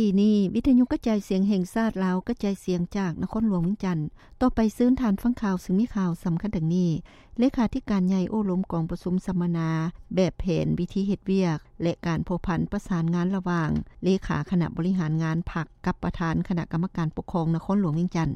ປີນີ້ ວິທະຍຸກະຈາຍສຽງແຫ່ງຊາດລາວ ກະຈາຍສຽງຈາກນະຄອນຫຼວງວຽງຈັນ. ຕໍ່ໄປເຊີນທ່ານຟັງຂ່າວ ຊຶ່ງມີຂ່າວສຳຄັນດັ່ງນີ້: ເລຂາທິການໃຫຍ່ໂອ້ລົມກອງປະຊຸມສຳມະນາແບບແຜນວິທີເຮັດວຽກ ແລະ ການພົວພັນປະສານງານລະຫວ່າງເລຂາຄະນະບໍລິຫານງານພັກ ກັບປະທານຄະນະກຳມະການປົກຄອງນະຄອນຫຼວງວຽງຈັນ.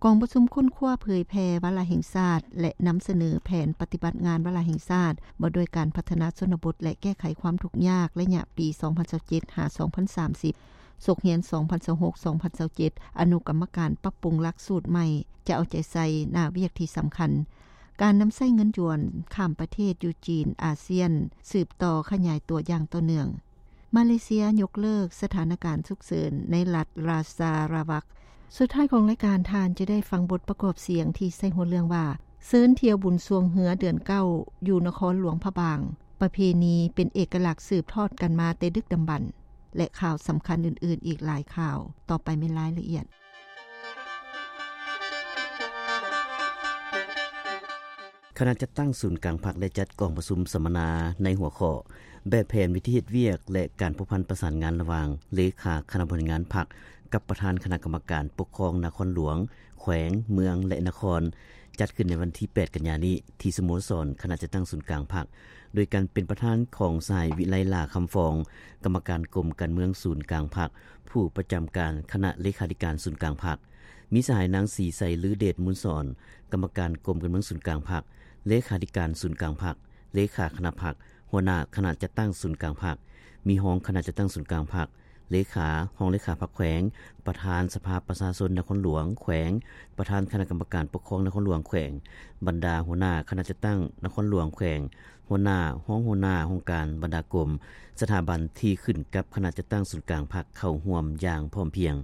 ກອງປະຊຸມຄົ້ນຄວ້າເຜີຍແຜ່ວາລະແຫ່ງຊາດ ແລະ ນຳສະເໜີແຜນປະຕິບັດງານວາລະແຫ່ງຊາດ ວ່າດ້ວຍການພັດທະນາຊົນນະບົດ ແລະ ແກ້ໄຂຄວາມທຸກຍາກ ໄລຍະປີສອງພັນຊາວເຈັດ ຫາ ສອງພັນສາມສິບ, ສົກຮຽນສອງພັນຊາວຫົກ ສອງພັນຊາວເຈັດ ອະນຸກຳມະການປັບປຸງຫຼັກສູດໃໝ່ ຈະເອົາໃຈໃສ່ໜ້າວຽກທີ່ສຳຄັນ, ການນຳໃຊ້ເງິນຢວນຂ້າມປະເທດຢູ່ຈີນ, ອາຊຽນ ສືບຕໍ່ຂະຫຍາຍຕົວຢ່າງຕໍ່ເນື່ອງ. ມາເລເຊຍຍົກເລີກສະຖານະການສຸກເສີນໃນລັດຣາຊາລາວັກ. ສຸດທ້າຍຂອງລາຍການ, ທ່ານຈະໄດ້ຟັງບົດປະກອບສຽງທີ່ໃສ່ຫົວເລື່ອງວ່າ ເຊີນທ່ຽວບຸນຊ່ວງເຮືອເດືອນເກົ້າ ຢູ່ນະຄອນຫຼວງພະບາງ, ປະເພນີເປັນເອກະລັກສືບທອດກັນມາແຕ່ດຶກດຳບັນ ແລະ ຂ່າວສຳຄັນອື່ນໆອີກຫຼາຍຂ່າວ. ຕໍ່ໄປແມ່ນລາຍລະອຽດ. ຄະນະຈັດຕັ້ງສູນກາງພັກໄດ້ຈັດກອງປະຊຸມສຳມະນາໃນຫົວຂໍ້ ແບບແຜນວິທີເຮັດວຽກ ແລະ ການພົວພັນປະສານງານລະຫວ່າງເລຂາຄະນະບໍລິຫານງານພັກ ກັບປະທານຄະນະກຳມະການປົກຄອງນະຄອນຫຼວງ, ແຂວງ, ເມືອງ ແລະ ນະຄອນ, ຈັດຂຶ້ນໃນວັນທີແປດ ກັນຍານີ້ ທີ່ສະໂມສອນຄະນະຈັດຕັ້ງສູນກາງພັກ ໂດຍການເປັນປະທານຂອງສະຫາຍ ວິໄລ ຫຼ້າຄຳຟອງ, ກຳມະການກົມການເມືອງສູນກາງພັກ, ຜູ້ປະຈຳການຄະນະເລຂາທິການສູນກາງພັກ. ມີສະຫາຍ ນາງ ສີໄຊ ລືເດດມູນສອນ, ກຳມະການກົມການເມືອງສູນກາງພັກ, ເລຂາທິການສູນກາງພັກ, ເລຂາຄະນະພັກ, ຫົວໜ້າຄະນະຈັດຕັ້ງສູນກາງພັກ, ມີຮອງຄະນະຈັດຕັ້ງສູນກາງພັກ, ເລຂາ, ຮອງເລຂາພັກແຂວງ, ປະທານສະພາປະຊາຊົນນະຄອນຫຼວງ, ແຂວງ, ປະທານຄະນະກຳມະການປົກຄອງນະຄອນຫຼວງ, ແຂວງ, ບັນດາຫົວໜ້າຄະນະຈັດຕັ້ງນະຄອນຫຼວງ, ແຂວງ, ຫົວໜ້າ, ຮອງຫົວໜ້າຫ້ອງການ, ບັນດາກົມ, ສະຖາບັນທີ່ຂຶ້ນກັບຄະນະຈັດຕັ້ງສູນກາງພັກເຂົ້າຮ່ວມຢ່າງພ້ອມພຽງ.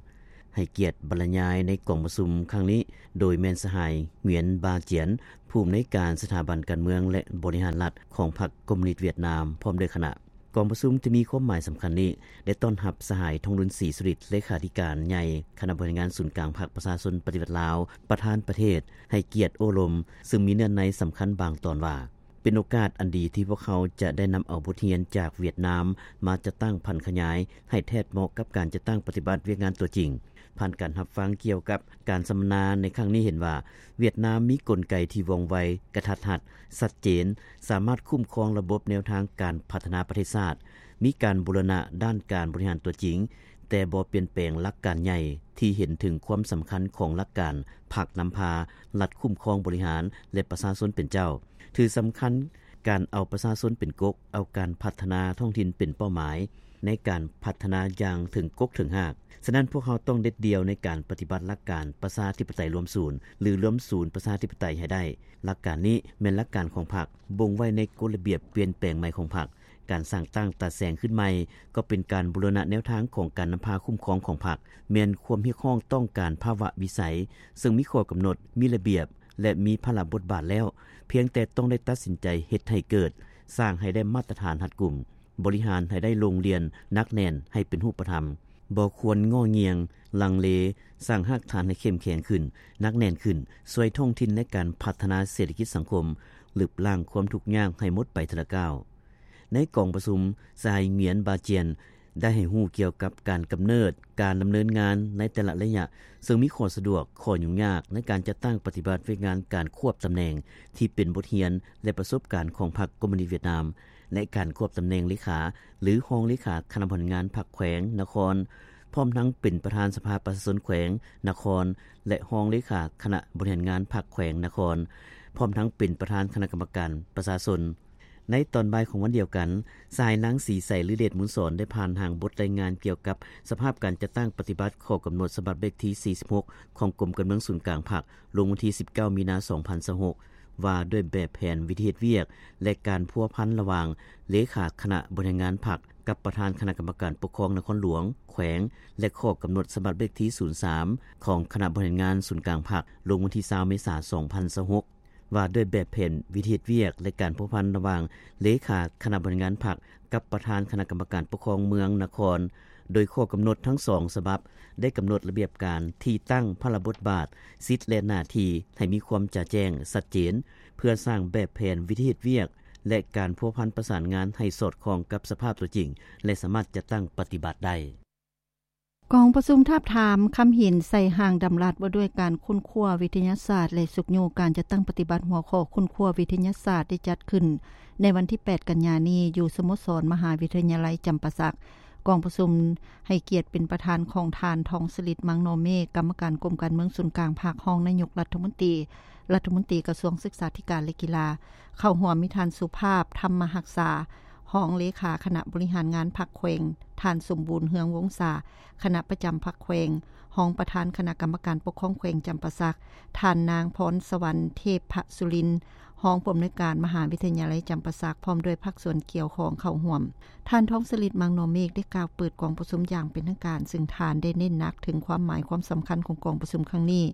ໃຫ້ກຽດບັນລະຍາຍໃນກອງປະຊຸມຄັ້ງນີ້ ໂດຍແມ່ນສະຫາຍ ຫງວຽນ ບາຈຽນ, ຜູ້ອຳນວຍການສະຖາບັນການເມືອງ ແລະ ບໍລິຫານລັດຂອງພັກຄອມມູນິດຫວຽດນາມ ພ້ອມດ້ວຍຄະນະ. ກອງປະຊຸມທີ່ມີຄວາມໝາຍສຳຄັນນີ້ ໄດ້ຕ້ອນຮັບສະຫາຍ ທອງລຸນ ສີສຸລິດ, ເລຂາທິການໃຫຍ່ຄະນະບໍລິຫານງານສູນກາງພັກປະຊາຊົນປະຕິວັດລາວ, ປະທານປະເທດ, ໃຫ້ກຽດໂອ້ລົມ, ຊຶ່ງມີເນື້ອໃນສຳຄັນບາງຕອນວ່າ ເປັນໂອກາດອັນດີທີ່ພວກເຮົາຈະໄດ້ນຳເອົາບົດຮຽນຈາກຫວຽດນາມມາຈັດຕັ້ງຜັນຂະຫຍາຍໃຫ້ແທດເໝາະກັບການຈັດຕັ້ງປະຕິບັດວຽກງານຕົວຈິງ. ຜ່ານການຮັບຟັງກ່ຽວກັບການສຳມະນາໃນຄັ້ງນີ້ເຫັນວ່າ ຫວຽດນາມມີກົນໄກທີ່ວ່ອງໄວ, ກະທັດຮັດ, ຊັດເຈນ, ສາມາດຄຸ້ມຄອງລະບົບແນວທາງການພັດທະນາປະເທດຊາດ, ມີການບູລະນະດ້ານການບໍລິຫານຕົວຈິງ, ແຕ່ບໍ່ປ່ຽນແປງຫຼັກການໃຫຍ່ທີ່ເຫັນເຖິງຄວາມສຳຄັນຂອງຫຼັກການພັກນຳພາ, ລັດຄຸ້ມຄອງບໍລິຫານ ແລະ ປະຊາຊົນເປັນເຈົ້າ. ຖືສຳຄັນການເອົາປະຊາຊົນເປັນກົກ, ເອົາການພັດທະນາທ້ອງຖິ່ນເປັນເປົ້າໝາຍໃນການພັດທະນາຢ່າງເຖິງກົກເຖິງຮາກ. ສະນັ້ນ, ພວກເຮົາຕ້ອງເດັດດ່ຽວໃນການປະຕິບັດຫຼັກການປະຊາທິປະໄຕລວມສູນ ຫຼື ລວມສູນປະຊາທິປະໄຕໃຫ້ໄດ້. ຫຼັກການນີ້ແມ່ນຫຼັກການຂອງພັກ, ບົ່ງໄວ້ໃນກົດລະບຽບປ່ຽນແປງໃໝ່ຂອງພັກ. ການສ້າງຕັ້ງຕາແສງຂຶ້ນໃໝ່ກໍເປັນການບູລະນະແນວທາງຂອງການນຳພາຄຸ້ມຄອງຂອງພັກ, ແມ່ນຄວາມຮຽກຮ້ອງຕ້ອງການພາວະວິໄສ, ເຊິ່ງມີຂໍ້ກຳນົດ, ມີລະບຽບ ແລະ ມີພາລະບົດບາດແລ້ວ, ພຽງແຕ່ຕ້ອງໄດ້ຕັດສິນໃຈເຮັດໃຫ້ເກີດ, ສ້າງໃຫ້ໄດ້ມາດຕະຖານຮັດກຸມ, ບໍລິຫານໃຫ້ໄດ້ໂລ່ງລ່ຽນ, ໜັກແໜ້ນ, ໃຫ້ເປັນຮູບປະທຳ, ບໍ່ຄວນງໍ່ງຽງ, ລັງເລ, ສ້າງຮາກຖານໃຫ້ເຂັ້ມແຂງຂຶ້ນ, ໜັກແໜ້ນຂຶ້ນ, ຊ່ວຍທ້ອງຖິ່ນໃນການພັດທະນາເສດຖະກິດສັງຄົມ, ລຶບລ້າງຄວາມທຸກຍາກໃຫ້ໝົດໄປເທື່ອລະກ້າວ. ໃນກອງປະຊຸມ, ສະຫາຍ ຫງວຽນ ບາຈຽນ ໄດ້ໃຫ້ຮູ້ກ່ຽວກັບການກຳເນີດ, ການດຳເນີນງານໃນແຕ່ລະໄລຍະ, ເຊິ່ງມີຂໍ້ສະດວກ, ຂໍ້ຫຍຸ້ງຍາກໃນການຈັດຕັ້ງປະຕິບັດວຽກງານການຄວບຕຳແໜ່ງທີ່ເປັນບົດຮຽນ ແລະ ປະສົບການຂອງພັກຄອມມູນິດຫວຽດນາມ ແລະ ການຄວບຕຳແໜ່ງເລຂາ ຫຼື ຮອງເລຂາຄະນະບໍລິຫານງານພັກແຂວງ, ນະຄອນ, ພ້ອມທັງເປັນປະທານສະພາປະຊາຊົນແຂວງ, ນະຄອນ ແລະ ຮອງເລຂາຄະນະບໍລິຫານງານພັກແຂວງ, ນະຄອນ, ພ້ອມທັງເປັນປະທານຄະນະກຳມະການປະຊາຊົນ. ໃນຕອນບ່າຍຂອງວັນດຽວກັນ, ສະຫາຍ ນາງ ສີໄຊ ລືເດດມູນສອນ ໄດ້ຜ່ານຮ່າງບົດລາຍງານກ່ຽວກັບສະພາບການຈັດຕັ້ງປະຕິບັດຂໍ້ກຳນົດສະບັບເລກທີສີ່ສິບຫົກ ຂອງກົມການເມືອງສູນກາງພັກ ລົງວັນທີສິບເກົ້າ ມີນາ ສອງພັນຊາວຫົກ ວ່າດ້ວຍແບບແຜນວິທີເຮັດວຽກ ແລະ ການພົວພັນລະຫວ່າງເລຂາຄະນະບໍລິຫານງານພັກ ກັບປະທານຄະນະກຳມະການປົກຄອງນະຄອນຫຼວງ, ແຂວງ ແລະ ຂໍ້ກຳນົດສະບັບເລກທີສູນສາມ ຂອງຄະນະບໍລິຫານງານສູນກາງພັກ ລົງວັນທີຊາວ ເມສາ ສອງພັນຊາວຫົກ ວ່າດ້ວຍແບບແຜນວິທີເຮັດວຽກ ແລະ ການພົວພັນລະຫວ່າງເລຂາຄະນະບໍລິຫານງານພັກ ກັບປະທານຄະນະກຳມະການປົກຄອງເມືອງ, ນະຄອນ, ໂດຍຂໍ້ກຳນົດທັງສອງສະບັບ ໄດ້ກຳນົດລະບຽບການ, ທີ່ຕັ້ງ, ພາລະບົດບາດ, ສິດ ແລະ ໜ້າທີ່ ໃຫ້ມີຄວາມຈະແຈ້ງ, ຊັດເຈນ, ເພື່ອສ້າງແບບແຜນວິທີເຮັດວຽກ ແລະ ການພົວພັນປະສານງານໃຫ້ສອດຄ່ອງກັບສະພາບຕົວຈິງ ແລະ ສາມາດຈັດຕັ້ງປະຕິບັດໄດ້. ກອງປະຊຸມທາບທາມຄຳເຫັນໃສ່ຮ່າງດຳລັດວ່າດ້ວຍການຄົ້ນຄວ້າວິທະຍາສາດ ແລະ ຊຸກຍູ້ການຈັດຕັ້ງປະຕິບັດຫົວຂໍ້ຄົ້ນຄວ້າວິທະຍາສາດ ໄດ້ຈັດຂຶ້ນໃນວັນທີແປດ ກັນຍານີ້ ຢູ່ສະໂມສອນມະຫາວິທະຍາໄລຈຳປາສັກ. ກອງປະຊຸມໃຫ້ກຽດເປັນປະທານຂອງທ່ານ ທອງສະລິດ ມັງນໍເມກ ກຳມະການກົມການເມືອງສູນກາງພັກ, ຮອງນາຍົກລັດຖະມົນຕີ, ລັດຖະມົນຕີກະຊວງສຶກສາທິການ ແລະ ກິລາ. ເຂົ້າຮ່ວມມີທ່ານ ສຸພາບ ທຳມະຮັກສາ ຮອງເລຂາຄະນະບໍລິຫານງານພັກແຂວງ, ທ່ານ ສົມບູນ ເຮືອງວົງສາ ຄະນະປະຈຳພັກແຂວງ, ຮອງປະທານຄະນະກຳມະການປົກຄອງແຂວງຈຳປາສັກ, ທ່ານ ນາງ ພອນສະຫວັນ ເທບພະສຸລິນ ຮອງຜູ້ອຳນວຍການມະຫາວິທະຍາໄລຈຳປາສັກ ພ້ອມດ້ວຍພາກສ່ວນກ່ຽວຂ້ອງເຂົ້າຮ່ວມ. ທ່ານ ທອງສະລິດ ມັງນໍເມກ ໄດ້ກ່າວເປີດກອງປະຊຸມຢ່າງເປັນທາງການ, ເຊິ່ງທ່ານໄດ້ເນັ້ນໜັກເຖິງຄວາມໝາຍຄວາມສຳຄັນຂອງກອງປະຊຸມຄັ້ງນີ້.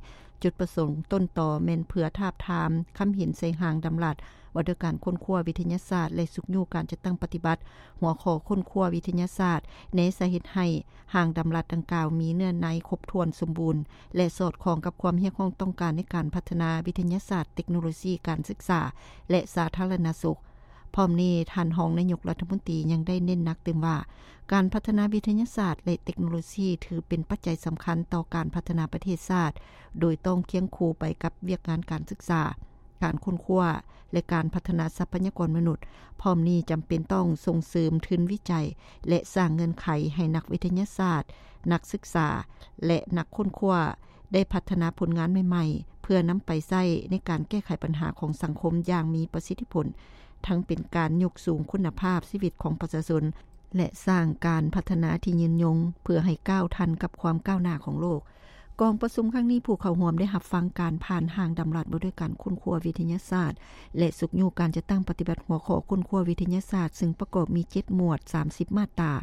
ຈຸດປະສົງຕົ້ນຕໍແມ່ນເພື່ອທາບທາມຄຳເຫັນໃສ່ຮ່າງດຳລັດວ່າດ້ວຍການຄົ້ນຄວ້າວິທະຍາສາດ ແລະ ຊຸກຍູ້ການຈັດຕັ້ງປະຕິບັດຫົວຂໍ້ຄົ້ນຄວ້າວິທະຍາສາດ ແນໃສ່ເຮັດໃຫ້ຮ່າງດຳລັດດັ່ງກ່າວມີເນື້ອໃນຄົບຖ້ວນສົມບູນ ແລະ ສອດຄ່ອງກັບຄວາມຮຽກຮ້ອງຕ້ອງການໃນການພັດທະນາວິທະຍາສາດ, ເຕັກໂນໂລຊີ, ການສຶກສາ ແລະ ສາທາລະນະສຸກ. ພ້ອມນີ້, ທ່ານຮອງນາຍົກລັດຖະມົນຕີຍັງໄດ້ເນັ້ນໜັກຕື່ມວ່າ ການພັດທະນາວິທະຍາສາດ ແລະ ເຕັກໂນໂລຊີ ຖືເປັນປັດໄຈສຳຄັນຕໍ່ການພັດທະນາປະເທດຊາດ, ໂດຍຕ້ອງຄຽງຄູ່ໄປກັບວຽກງານການສຶກສາ, ການຄົ້ນຄວ້າ ແລະ ການພັດທະນາຊັບພະຍາກອນມະນຸດ. ພ້ອມນີ້, ຈຳເປັນຕ້ອງສົ່ງເສີມທຶນວິໄຈ ແລະ ສ້າງເງື່ອນໄຂໃຫ້ນັກວິທະຍາສາດ, ນັກສຶກສາ ແລະ ນັກຄົ້ນຄວ້າ ໄດ້ພັດທະນາຜົນງານໃໝ່ໆ ເພື່ອນຳໄປໃຊ້ໃນການແກ້ໄຂບັນຫາຂອງສັງຄົມຢ່າງມີປະສິດທິຜົນ, ທັງເປັນການຍົກສູງຄຸນນະພາບຊີວິດຂອງປະຊາຊົນ ແລະ ສ້າງການພັດທະນາທີ່ຍືນຍົງ ເພື່ອໃຫ້ກ້າວທັນກັບຄວາມກ້າວໜ້າຂອງໂລກ. ກອງປະຊຸມຄັ້ງນີ້, ຜູ້ເຂົ້າຮ່ວມໄດ້ຮັບຟັງການຜ່ານຮ່າງດຳລັດວ່າດ້ວຍການຄົ້ນຄວ້າວິທະຍາສາດ ແລະ ຊຸກຍູ້ການຈັດຕັ້ງປະຕິບັດຫົວຂໍ້ຄົ້ນຄວ້າວິທະຍາສາດ, ເຊິ່ງປະກອບມີເຈັດໝວດ, ສາມສິບມາດຕາ.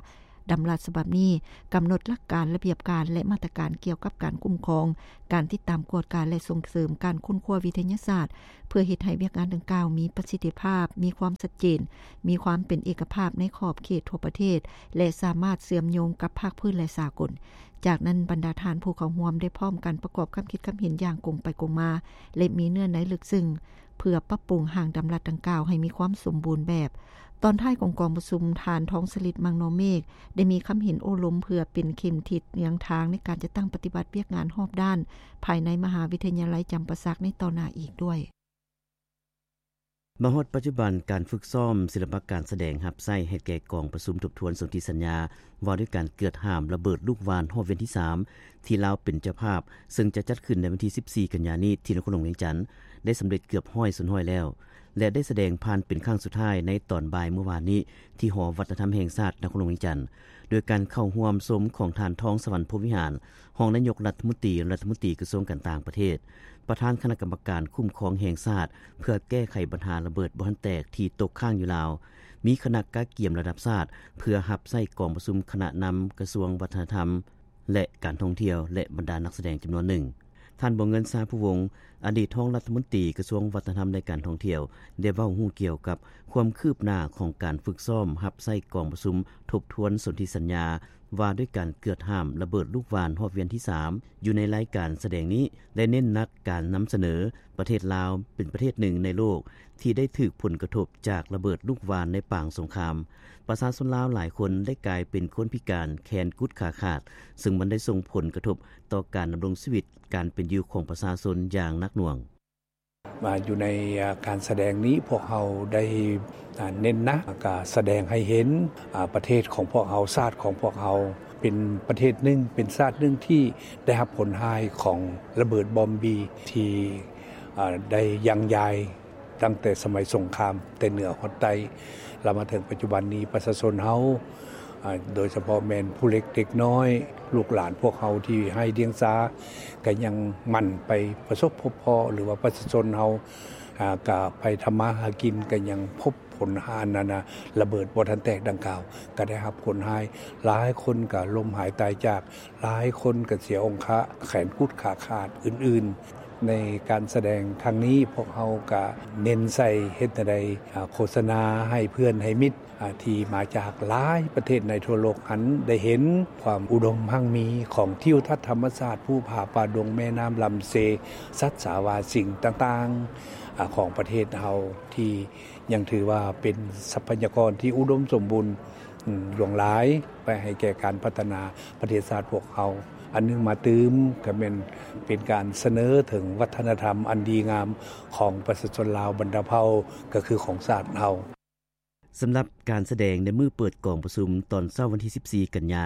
ດຳລັດສະບັບນີ້ກຳນົດຫຼັກການ, ລະບຽບການ ແລະ ມາດຕະການກ່ຽວກັບການຄຸ້ມຄອງ, ການຕິດຕາມກວດກາ ແລະ ສົ່ງເສີມການຄົ້ນຄວ້າວິທະຍາສາດ, ເພື່ອເຮັດໃຫ້ວຽກງານດັ່ງກ່າວມີປະສິດທິພາບ, ມີຄວາມຊັດເຈນ, ມີຄວາມເປັນເອກະພາບໃນຂອບເຂດທົ່ວປະເທດ ແລະ ສາມາດເຊື່ອມໂຍງກັບພາກພື້ນ ແລະ ສາກົນ. ຈາກນັ້ນ, ບັນດາທ່ານຜູ້ເຂົ້າຮ່ວມໄດ້ພ້ອມກັນປະກອບຄຳຄິດຄຳເຫັນຢ່າງກົງໄປກົງມາ ແລະ ມີເນື້ອໃນເລິກເຊິ່ງ ເພື່ອປັບປຸງຮ່າງດຳລັດດັ່ງກ່າວໃຫ້ມີຄວາມສົມບູນແບບ. ຕອນທ້າຍຂອງກອງປະຊຸມ, ທ່ານ ທອງສະລິດ ມັງນໍເມກ ໄດ້ມີຄຳເຫັນໂອ້ລົມເພື່ອເປັນເຂັມທິດນຳທາງໃນການຈັດຕັ້ງປະຕິບັດວຽກງານຮອບດ້ານ ພາຍໃນມະຫາວິທະຍາໄລຈຳປາສັກໃນຕໍ່ໜ້າອີກດ້ວຍ. ມາຮອດປັດຈຸບັນ, ການຝຶກຊ້ອມສິລະປະການສະແດງຮັບໃຊ້ໃຫ້ແກ່ກອງປະຊຸມທົບທວນສົນທິສັນຍາ ວ່າດ້ວຍການເກືອດຫ້າມລະເບີດລູກຫວ່ານຮອບວຽນທີສາມ ທີ່ລາວເປັນເຈົ້າພາບ, ເຊິ່ງຈະຈັດຂຶ້ນໃນວັນທີສິບສີ່ ກັນຍານີ້ ທີ່ນະຄອນຫຼວງວຽງຈັນ ໄດ້ສຳເລັດເກືອບຮ້ອຍສ່ວນຮ້ອຍແລ້ວ ແລະ ໄດ້ສະແດງຜ່ານເປັນຄັ້ງສຸດທ້າຍໃນຕອນບ່າຍມື້ວານນີ້ ທີ່ຫໍວັດທະນະທຳແຫ່ງຊາດ ນະຄອນຫຼວງວຽງຈັນ ໂດຍການເຂົ້າຮ່ວມຊົມຂອງທ່ານ ທອງສະຫວັນ ພົມວິຫານ ຮອງນາຍົກລັດຖະມົນຕີ, ລັດຖະມົນຕີກະຊວງການຕ່າງປະເທດ, ປະທານຄະນະກຳມະການຄຸ້ມຄອງແຫ່ງຊາດ ເພື່ອແກ້ໄຂບັນຫາລະເບີດບໍ່ທັນແຕກທີ່ຕົກຄ້າງຢູ່ລາວ, ມີຄະນະກະກຽມລະດັບຊາດ ເພື່ອຮັບໃຊ້ກອງປະຊຸມຄະນະນຳກະຊວງວັດທະນະທຳ ແລະ ການທ່ອງທ່ຽວ ແລະ ບັນດານັກສະແດງຈຳນວນໜຶ່ງ. ທ່ານ ບົວເງິນ ຊາພູວົງ ອະດີດຮອງລັດຖະມົນຕີກະຊວງວັດທະນະທຳ ແລະ ການທ່ອງທ່ຽວ ໄດ້ເວົ້າຮູ້ກ່ຽວກັບຄວາມຄືບໜ້າຂອງການຝຶກຊ້ອມຮັບໃຊ້ກອງປະຊຸມທົບທວນສົນທິສັນຍາ ວ່າດ້ວຍການເກືອດຫ້າມລະເບີດລູກຫວ່ານຮອບວຽນທີສາມ. ຢູ່ໃນລາຍການສະແດງນີ້ ໄດ້ເນັ້ນໜັກການນຳສະເໜີປະເທດລາວເປັນປະເທດໜຶ່ງໃນໂລກ ທີ່ໄດ້ຖືກຜົນກະທົບຈາກລະເບີດລູກຫວ່ານໃນປາງສົງຄາມ. ປະຊາຊົນລາວຫຼາຍຄົນໄດ້ກາຍເປັນຄົນພິການ, ແຂນກຸດຂາຂາດ, ເຊິ່ງມັນໄດ້ສົ່ງຜົນກະທົບຕໍ່ການດຳລົງຊີວິດ, ການເປັນຢູ່ຂອງປະຊາຊົນຢ່າງໜັກໜ່ວງ. ມາຢູ່ໃນ ອາ ການສະແດງນີ້ ພວກເຮົາໄດ້ ອາ ເນັ້ນໜັກ ກະສະແດງໃຫ້ເຫັນ ອາ ປະເທດຂອງພວກເຮົາ, ຊາດຂອງພວກເຮົາ ເປັນປະເທດໜຶ່ງ, ເປັນຊາດໜຶ່ງທີ່ໄດ້ຮັບຜົນຮ້າຍຂອງລະເບີດບອມບີທີ່ ອາ ໄດ້ຍັງຍາຍ ຕັ້ງແຕ່ສະໄໝສົງຄາມແຕ່ເໜືອຮອດໃຕ້ ລະມາເຖິງປັດຈຸບັນນີ້ ປະຊາຊົນເຮົາ ອາ ໂດຍສະເພາະແມ່ນຜູ້ເລັກເດັກນ້ອຍ ລູກຫຼານພວກເຮົາທີ່ໄຮ້ດຽງສາ ກະຍັງໝັ່ນໄປປະສົບພົບພໍ້ ຫຼືວ່າປະຊາຊົນເຮົາ ອາ ກະໄປທຳມາຫາກິນ ກະຍັງພົບຜົນ ອັນນັ້ນນະ ລະເບີດບໍ່ທັນແຕກດັ່ງກ່າວ ກະໄດ້ຮັບຜົນຮ້າຍ. ຫຼາຍຄົນກະລົ້ມຫາຍຕາຍຈາກ, ຫຼາຍຄົນກະເສຍອົງຄະ, ແຂນກຸດຂາຂາດ ອື່ນໆ. ໃນການສະແດງຄັ້ງນີ້ ພວກເຮົາກະເນັ້ນໃສ່ເຮັດແນວໃດ ອາ ໂຄສະນາໃຫ້ເພື່ອນໃຫ້ມິດ ອາ ທີ່ມາຈາກຫຼາຍປະເທດໃນທົ່ວໂລກຫັ້ນ ໄດ້ເຫັນຄວາມອຸດົມຮັ່ງມີຂອງທິວທັດທຳມະຊາດ ພູຜາປ່າດົງ ແມ່ນ້ຳລຳເຊ, ສັດສາວາສິ່ງຕ່າງໆ ອາ ຂອງປະເທດເຮົາ ທີ່ຍັງຖືວ່າເປັນຊັບພະຍາກອນທີ່ອຸດົມສົມບູນ ຫຼວງຫຼາຍໄປໃຫ້ແກ່ການພັດທະນາປະເທດຊາດພວກເຮົາ. ອັນໜຶ່ງມາຕື່ມກໍແມ່ນເປັນການສະເໜີເຖິງວັດທະນະທຳອັນດີງາມຂອງປະຊາຊົນລາວບັນດາເຜົ່າ ກໍຄືຂອງຊາດເຮົາ. ສຳລັບການສະແດງໃນມື້ເປີດກອງປະຊຸມຕອນເຊົ້າວັນທີສິບສີ່ກັນຍາ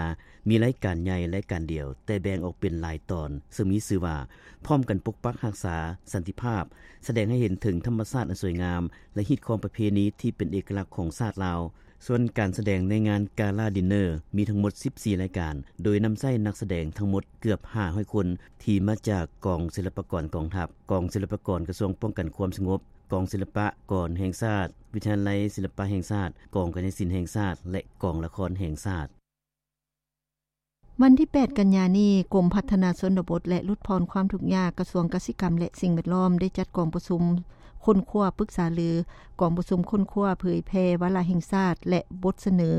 ມີລາຍການໃຫຍ່ລາຍການດຽວ ແຕ່ແບ່ງອອກເປັນຫຼາຍຕອນ ເຊິ່ງມີຊື່ວ່າ ພ້ອມກັນປົກປັກຮັກສາສັນຕິພາບ, ສະແດງໃຫ້ເຫັນເຖິງທຳມະຊາດອັນສວຍງາມ ແລະ ຮີດຄອງປະເພນີທີ່ເປັນເອກະລັກຂອງຊາດລາວ. ສ່ວນການສະແດງໃນງານກາລາດິນເນີ ມີທັງໝົດສິບສີ່ລາຍການ ໂດຍນຳໃຊ້ນັກສະແດງທັງໝົດເກືອບຫ້າຮ້ອຍຄົນ ທີ່ມາຈາກກອງສິລະປາກອນກອງທັບ, ກອງສິລະປາກອນກະຊວງປ້ອງກັນຄວາມສະຫງົບ, ກອງສິລະປາກອນແຫ່ງຊາດ, ວິທະຍາໄລສິລະປະແຫ່ງຊາດ, ກອງກະຍະສິນແຫ່ງຊາດ ແລະ ກອງລະຄອນແຫ່ງຊາດ. ວັນທີແປດກັນຍານີ້, ກົມພັດທະນາຊົນນະບົດ ແລະ ຫຼຸດຜ່ອນຄວາມທຸກຍາກ ກະຊວງກະສິກຳ ແລະ ສິ່ງແວດລ້ອມ ໄດ້ຈັດກອງປະຊຸມຄົ້ນຄວ້າປຶກສາລື, ກອງປະຊຸມຄົ້ນຄວ້າເຜີຍແຜ່ວາລະແຫ່ງຊາດ ແລະ ບົດສະເໜີ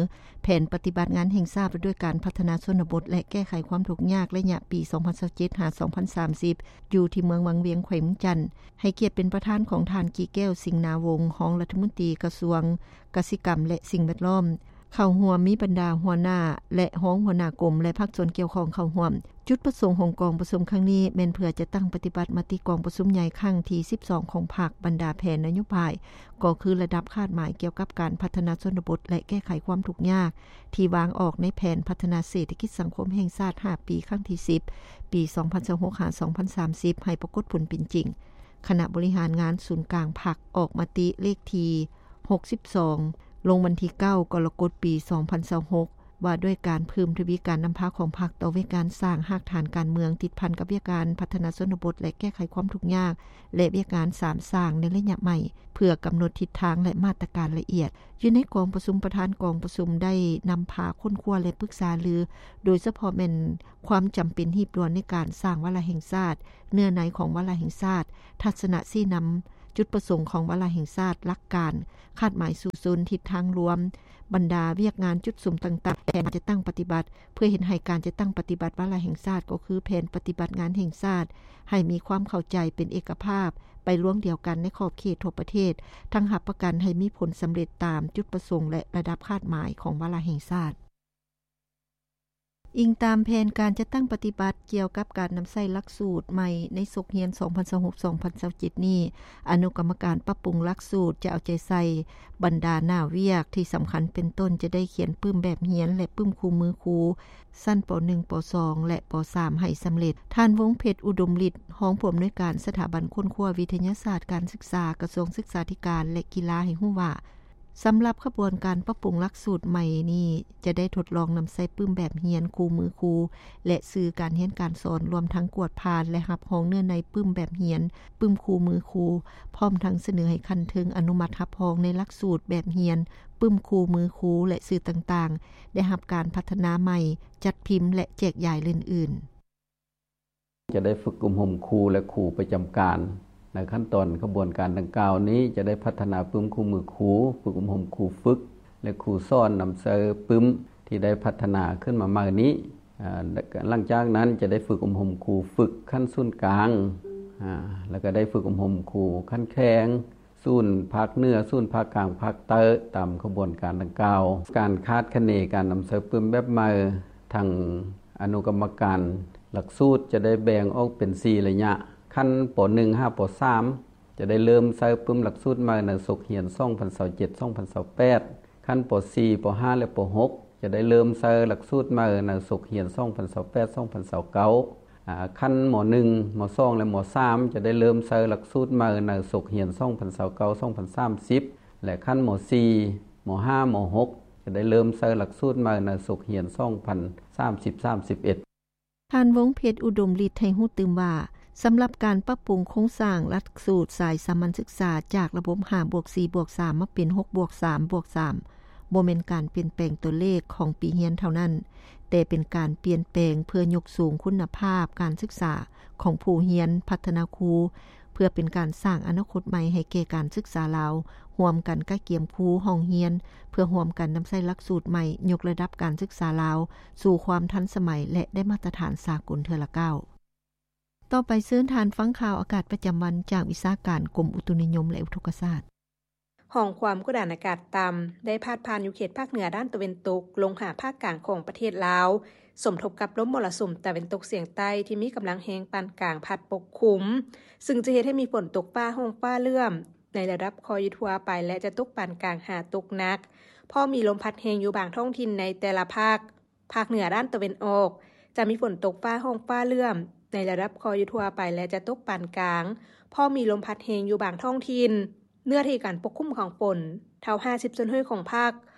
ແຜນປະຕິບັດງານແຫ່ງຊາດວ່າດ້ວຍການພັດທະນາຊົນນະບົດ ແລະ ແກ້ໄຂຄວາມທຸກຍາກໄລຍະປີສອງພັນຊາວເຈັດຫາສອງພັນສາມສິບ ຢູ່ທີ່ເມືອງວັງວຽງ ແຂວງວຽງຈັນ, ໃຫ້ກຽດເປັນປະທານຂອງທ່ານ ກີແກ້ວ ສິງນາວົງ ຮອງລັດຖະມົນຕີກະຊວງກະສິກຳ ແລະ ສິ່ງແວດລ້ອມ. ເຂົ້າຮ່ວມມີບັນດາຫົວໜ້າ ແລະ ຮອງຫົວໜ້າກົມ ແລະ ພາກສ່ວນກ່ຽວຂ້ອງເຂົ້າຮ່ວມ. ຈຸດປະສົງຂອງກອງປະຊຸມຄັ້ງນີ້ແມ່ນເພື່ອຈັດຕັ້ງປະຕິບັດມະຕິກອງປະຊຸມໃຫຍ່ຄັ້ງທີສິບສອງຂອງພັກ, ບັນດາແຜນນະໂຍບາຍ ກໍຄືລະດັບຄາດໝາຍກ່ຽວກັບການພັດທະນາຊົນນະບົດ ແລະ ແກ້ໄຂຄວາມທຸກຍາກ ທີ່ວາງອອກໃນແຜນພັດທະນາເສດຖະກິດສັງຄົມແຫ່ງຊາດຫ້າປີ ຄັ້ງທີສິບ ປີສອງພັນຊາວຫົກ ຫາ ສອງພັນສາມສິບ ໃຫ້ປາກົດຜົນເປັນຈິງ. ຄະນະບໍລິຫານງານສູນກາງພັກອອກມະຕິເລກທີຫົກສິບສອງ ລົງວັນທີເກົ້າ ກໍລະກົດ ປີສອງພັນຊາວຫົກ ວ່າດ້ວຍການເພີ່ມທະວີການນຳພາຂອງພັກຕໍ່ວຽກງານສ້າງຮາກຖານການເມືອງ ຕິດພັນກັບວຽກງານພັດທະນາຊົນນະບົດ ແລະ ແກ້ໄຂຄວາມທຸກຍາກ ແລະ ວຽກງານສາມສ້າງໃນໄລຍະໃໝ່ ເພື່ອກຳນົດທິດທາງ ແລະ ມາດຕະການລະອຽດ. ຢູ່ໃນກອງປະຊຸມ, ປະທານກອງປະຊຸມໄດ້ນຳພາຄົ້ນຄວ້າ ແລະ ປຶກສາລື, ໂດຍສະເພາະແມ່ນຄວາມຈຳເປັນຮີບດ່ວນໃນການສ້າງວາລະແຫ່ງຊາດ, ເນື້ອໃນຂອງວາລະແຫ່ງຊາດ, ທັດສະນະຊີ້ນຳ, ຈຸດປະສົງຂອງວາລະແຫ່ງຊາດ, ຫຼັກການ, ຄາດໝາຍສູ້ຊົນ, ທິດທາງລວມ, ບັນດາວຽກງານຈຸດສຸມຕ່າງໆ, ແຜນຈັດຕັ້ງປະຕິບັດ, ເພື່ອເຮັດໃຫ້ການຈັດຕັ້ງປະຕິບັດວາລະແຫ່ງຊາດ ກໍຄືແຜນປະຕິບັດງານແຫ່ງຊາດ ໃຫ້ມີຄວາມເຂົ້າໃຈເປັນເອກະພາບ ໄປລວງດຽວກັນໃນຂອບເຂດທົ່ວປະເທດ, ທັງຮັບປະກັນໃຫ້ມີຜົນສຳເລັດຕາມຈຸດປະສົງ ແລະ ລະດັບຄາດໝາຍຂອງວາລະແຫ່ງຊາດ. ອີງຕາມແຜນການຈັດຕັ້ງປະຕິບັດກ່ຽວກັບການນຳໃຊ້ຫຼັກສູດໃໝ່ໃນສົກຮຽນສອງພັນຊາວຫົກ ສອງພັນຊາວເຈັດນີ້, ອະນຸກຳມະການປັບປຸງຫຼັກສູດຈະເອົາໃຈໃສ່ບັນດາໜ້າວຽກທີ່ສຳຄັນເປັນຕົ້ນ ຈະໄດ້ຂຽນປຶ້ມແບບຮຽນ ແລະ ປຶ້ມຄູ່ມືຄູ ຊັ້ນ ປໍໜຶ່ງ ປໍສອງ ແລະ ປໍສາມ ໃຫ້ສຳເລັດ. ທ່ານ ວົງເພັດ ອຸດົມລິດ ຮອງຜູ້ອຳນວຍການສະຖາບັນຄົ້ນຄວ້າວິທະຍາສາດການສຶກສາ ກະຊວງສຶກສາທິການ ແລະ ກິລາ ໃຫ້ຮູ້ວ່າ, ສຳລັບຂະບວນການປັບປຸງຫຼັກສູດໃໝ່ນີ້ ຈະໄດ້ທົດລອງນຳໃຊ້ປຶ້ມແບບຮຽນຄູ່ມືຄູ ແລະ ສື່ການຮຽນການສອນ, ລວມທັງກວດຜ່ານ ແລະ ຮັບຮອງເນື້ອໃນປຶ້ມແບບຮຽນ, ປຶ້ມຄູ່ມືຄູ, ພ້ອມທັງສະເໜີໃຫ້ຂັ້ນເທິງອະນຸມັດຮັບຮອງໃນຫຼັກສູດແບບຮຽນ, ປຶ້ມຄູ່ມືຄູ ແລະ ສື່ຕ່າງໆ ໄດ້ຮັບການພັດທະນາໃໝ່, ຈັດພິມ ແລະ ແຈກຢາຍ ແລະ ອື່ນໆ. ຈະໄດ້ຝຶກອົບຮົມຄູ ແລະ ຄູປະຈຳການ. ໃນຂັ້ນຕອນຂະບວນການດັ່ງກ່າວນີ້ ຈະໄດ້ພັດທະນາປຶ້ມຄູ່ມືຄູ, ຝຶກອົບຮົມຄູຝຶກ ແລະ ຄູສອນນຳໃຊ້ປຶ້ມທີ່ໄດ້ພັດທະນາຂຶ້ນມາໃໝ່ນີ້. ອາ, ຫຼັງຈາກນັ້ນຈະໄດ້ຝຶກອົບຮົມຄູຝຶກຂັ້ນສູນກາງ, ອາ, ແລ້ວກໍໄດ້ຝຶກອົບຮົມຄູຂັ້ນແຂວງ, ສູນພາກເໜືອ, ສູນພາກກາງ, ພາກໃຕ້ ຕາມຂະບວນການດັ່ງກ່າວ. ການຄາດຄະເນການນຳໃຊ້ປຶ້ມແບບໃໝ່, ທາງອະນຸກຳມະການຫຼັກສູດຈະໄດ້ແບ່ງອອກເປັນສີ່ໄລຍະ. ຂັ້ນ ປໍໜຶ່ງ ຫາ ປໍສາມ ຈະໄດ້ເລີ່ມໃຊ້ປຶ້ມຫຼັກສູດໃໝ່ໃນສົກຮຽນສອງພັນຊາວເຈັດ ສອງພັນຊາວແປດ. ຂັ້ນ ປໍສີ່ ປໍຫ້າ ແລະ ປໍຫົກ ຈະໄດ້ເລີ່ມໃຊ້ຫຼັກສູດໃໝ່ໃນສົກຮຽນສອງພັນຊາວແປດ ສອງພັນຊາວເກົ້າ. ອາ, ຂັ້ນ ມໍໜຶ່ງ ມໍສອງ ແລະ ມໍສາມ ຈະໄດ້ເລີ່ມໃຊ້ຫຼັກສູດໃໝ່ໃນສົກຮຽນສອງພັນຊາວເກົ້າ ສອງພັນສາມສິບ ແລະ ຂັ້ນ ມໍສີ່ ມໍຫ້າ ມໍຫົກ ຈະໄດ້ເລີ່ມໃຊ້ຫຼັກສູດໃໝ່ໃນສົກຮຽນສອງພັນສາມສິບ ສາມສິບເອັດ. ທ່ານ ວົງເພັດ ອຸດົມລິດ ໃຫ້ຮູ້ຕື່ມວ່າ, ສຳລັບການປັບປຸງໂຄງສ້າງຫຼັກສູດສາຍສາມັນສຶກສາຈາກລະບົບຫ້າບວກສີ່ບວກສາມ ມາເປັນຫົກບວກສາມບວກສາມ ບໍ່ແມ່ນການປ່ຽນແປງຕົວເລກຂອງປີຮຽນເທົ່ານັ້ນ, ແຕ່ເປັນການປ່ຽນແປງເພື່ອຍົກສູງຄຸນນະພາບການສຶກສາຂອງຜູ້ຮຽນ, ພັດທະນາຄູ ເພື່ອເປັນການສ້າງອະນາຄົດໃໝ່ໃຫ້ແກ່ການສຶກສາລາວ, ຮ່ວມກັນກະກຽມຄູ, ຫ້ອງຮຽນ, ເພື່ອຮ່ວມກັນນຳໃຊ້ຫຼັກສູດໃໝ່, ຍົກລະດັບການສຶກສາລາວສູ່ຄວາມທັນສະໄໝ ແລະ ໄດ້ມາດຕະຖານສາກົນເທື່ອລະກ້າວ. ຕໍ່ໄປເຊີນທ່ານຟັງຂ່າວອາກາດປະຈຳວັນຈາກວິຊາການກົມອຸຕຸນິຍົມ ແລະ ອຸທົກກະສາດ. ຮ່ອງຄວາມກົດອາກາດຕ່ຳ ໄດ້ພາດຜ່ານຢູ່ເຂດພາກເໜືອດ້ານຕາເວັນຕົກ ລົງຫາພາກກາງຂອງປະເທດລາວ, ສົມທົບກັບລົມມໍລະສຸມຕາເວັນຕົກສຽງໃຕ້ທີ່ມີກຳລັງແຮງປານກາງພັດປົກຄຸມ, ຊຶ່ງຈະເຮັດໃຫ້ມີຝົນຕົກຟ້າຮ້ອງຟ້າເຫຼື້ອມ ໃນລະດັບຄ່ອຍຢູ່ທົ່ວໄປ ແລະ ຈະຕົກປານກາງຫາຕົກໜັກ, ພໍມີລົມພັດແຮງຢູ່ບາງທ້ອງຖິ່ນໃນແຕ່ລະພາກ. ພາກເໜືອດ້ານຕາເວັນອອກ ຈະມີຝົນຕົກຟ້າຮ້ອງຟ້າເຫຼື້ອມ ໃນລະດັບຄ່ອຍຢູ່ທົ່ວໄປ ແລະ ຈະຕົກປານກາງ, ພໍມີລົມພັດແຮງຢູ່ບາງທ້ອງຖິ່ນ. ເນື້ອທີ່ການປົກຄຸມຂອງຝົນ ເທົ່າຫ້າສິບສ່ວນຮ້ອຍຂອງພາກ,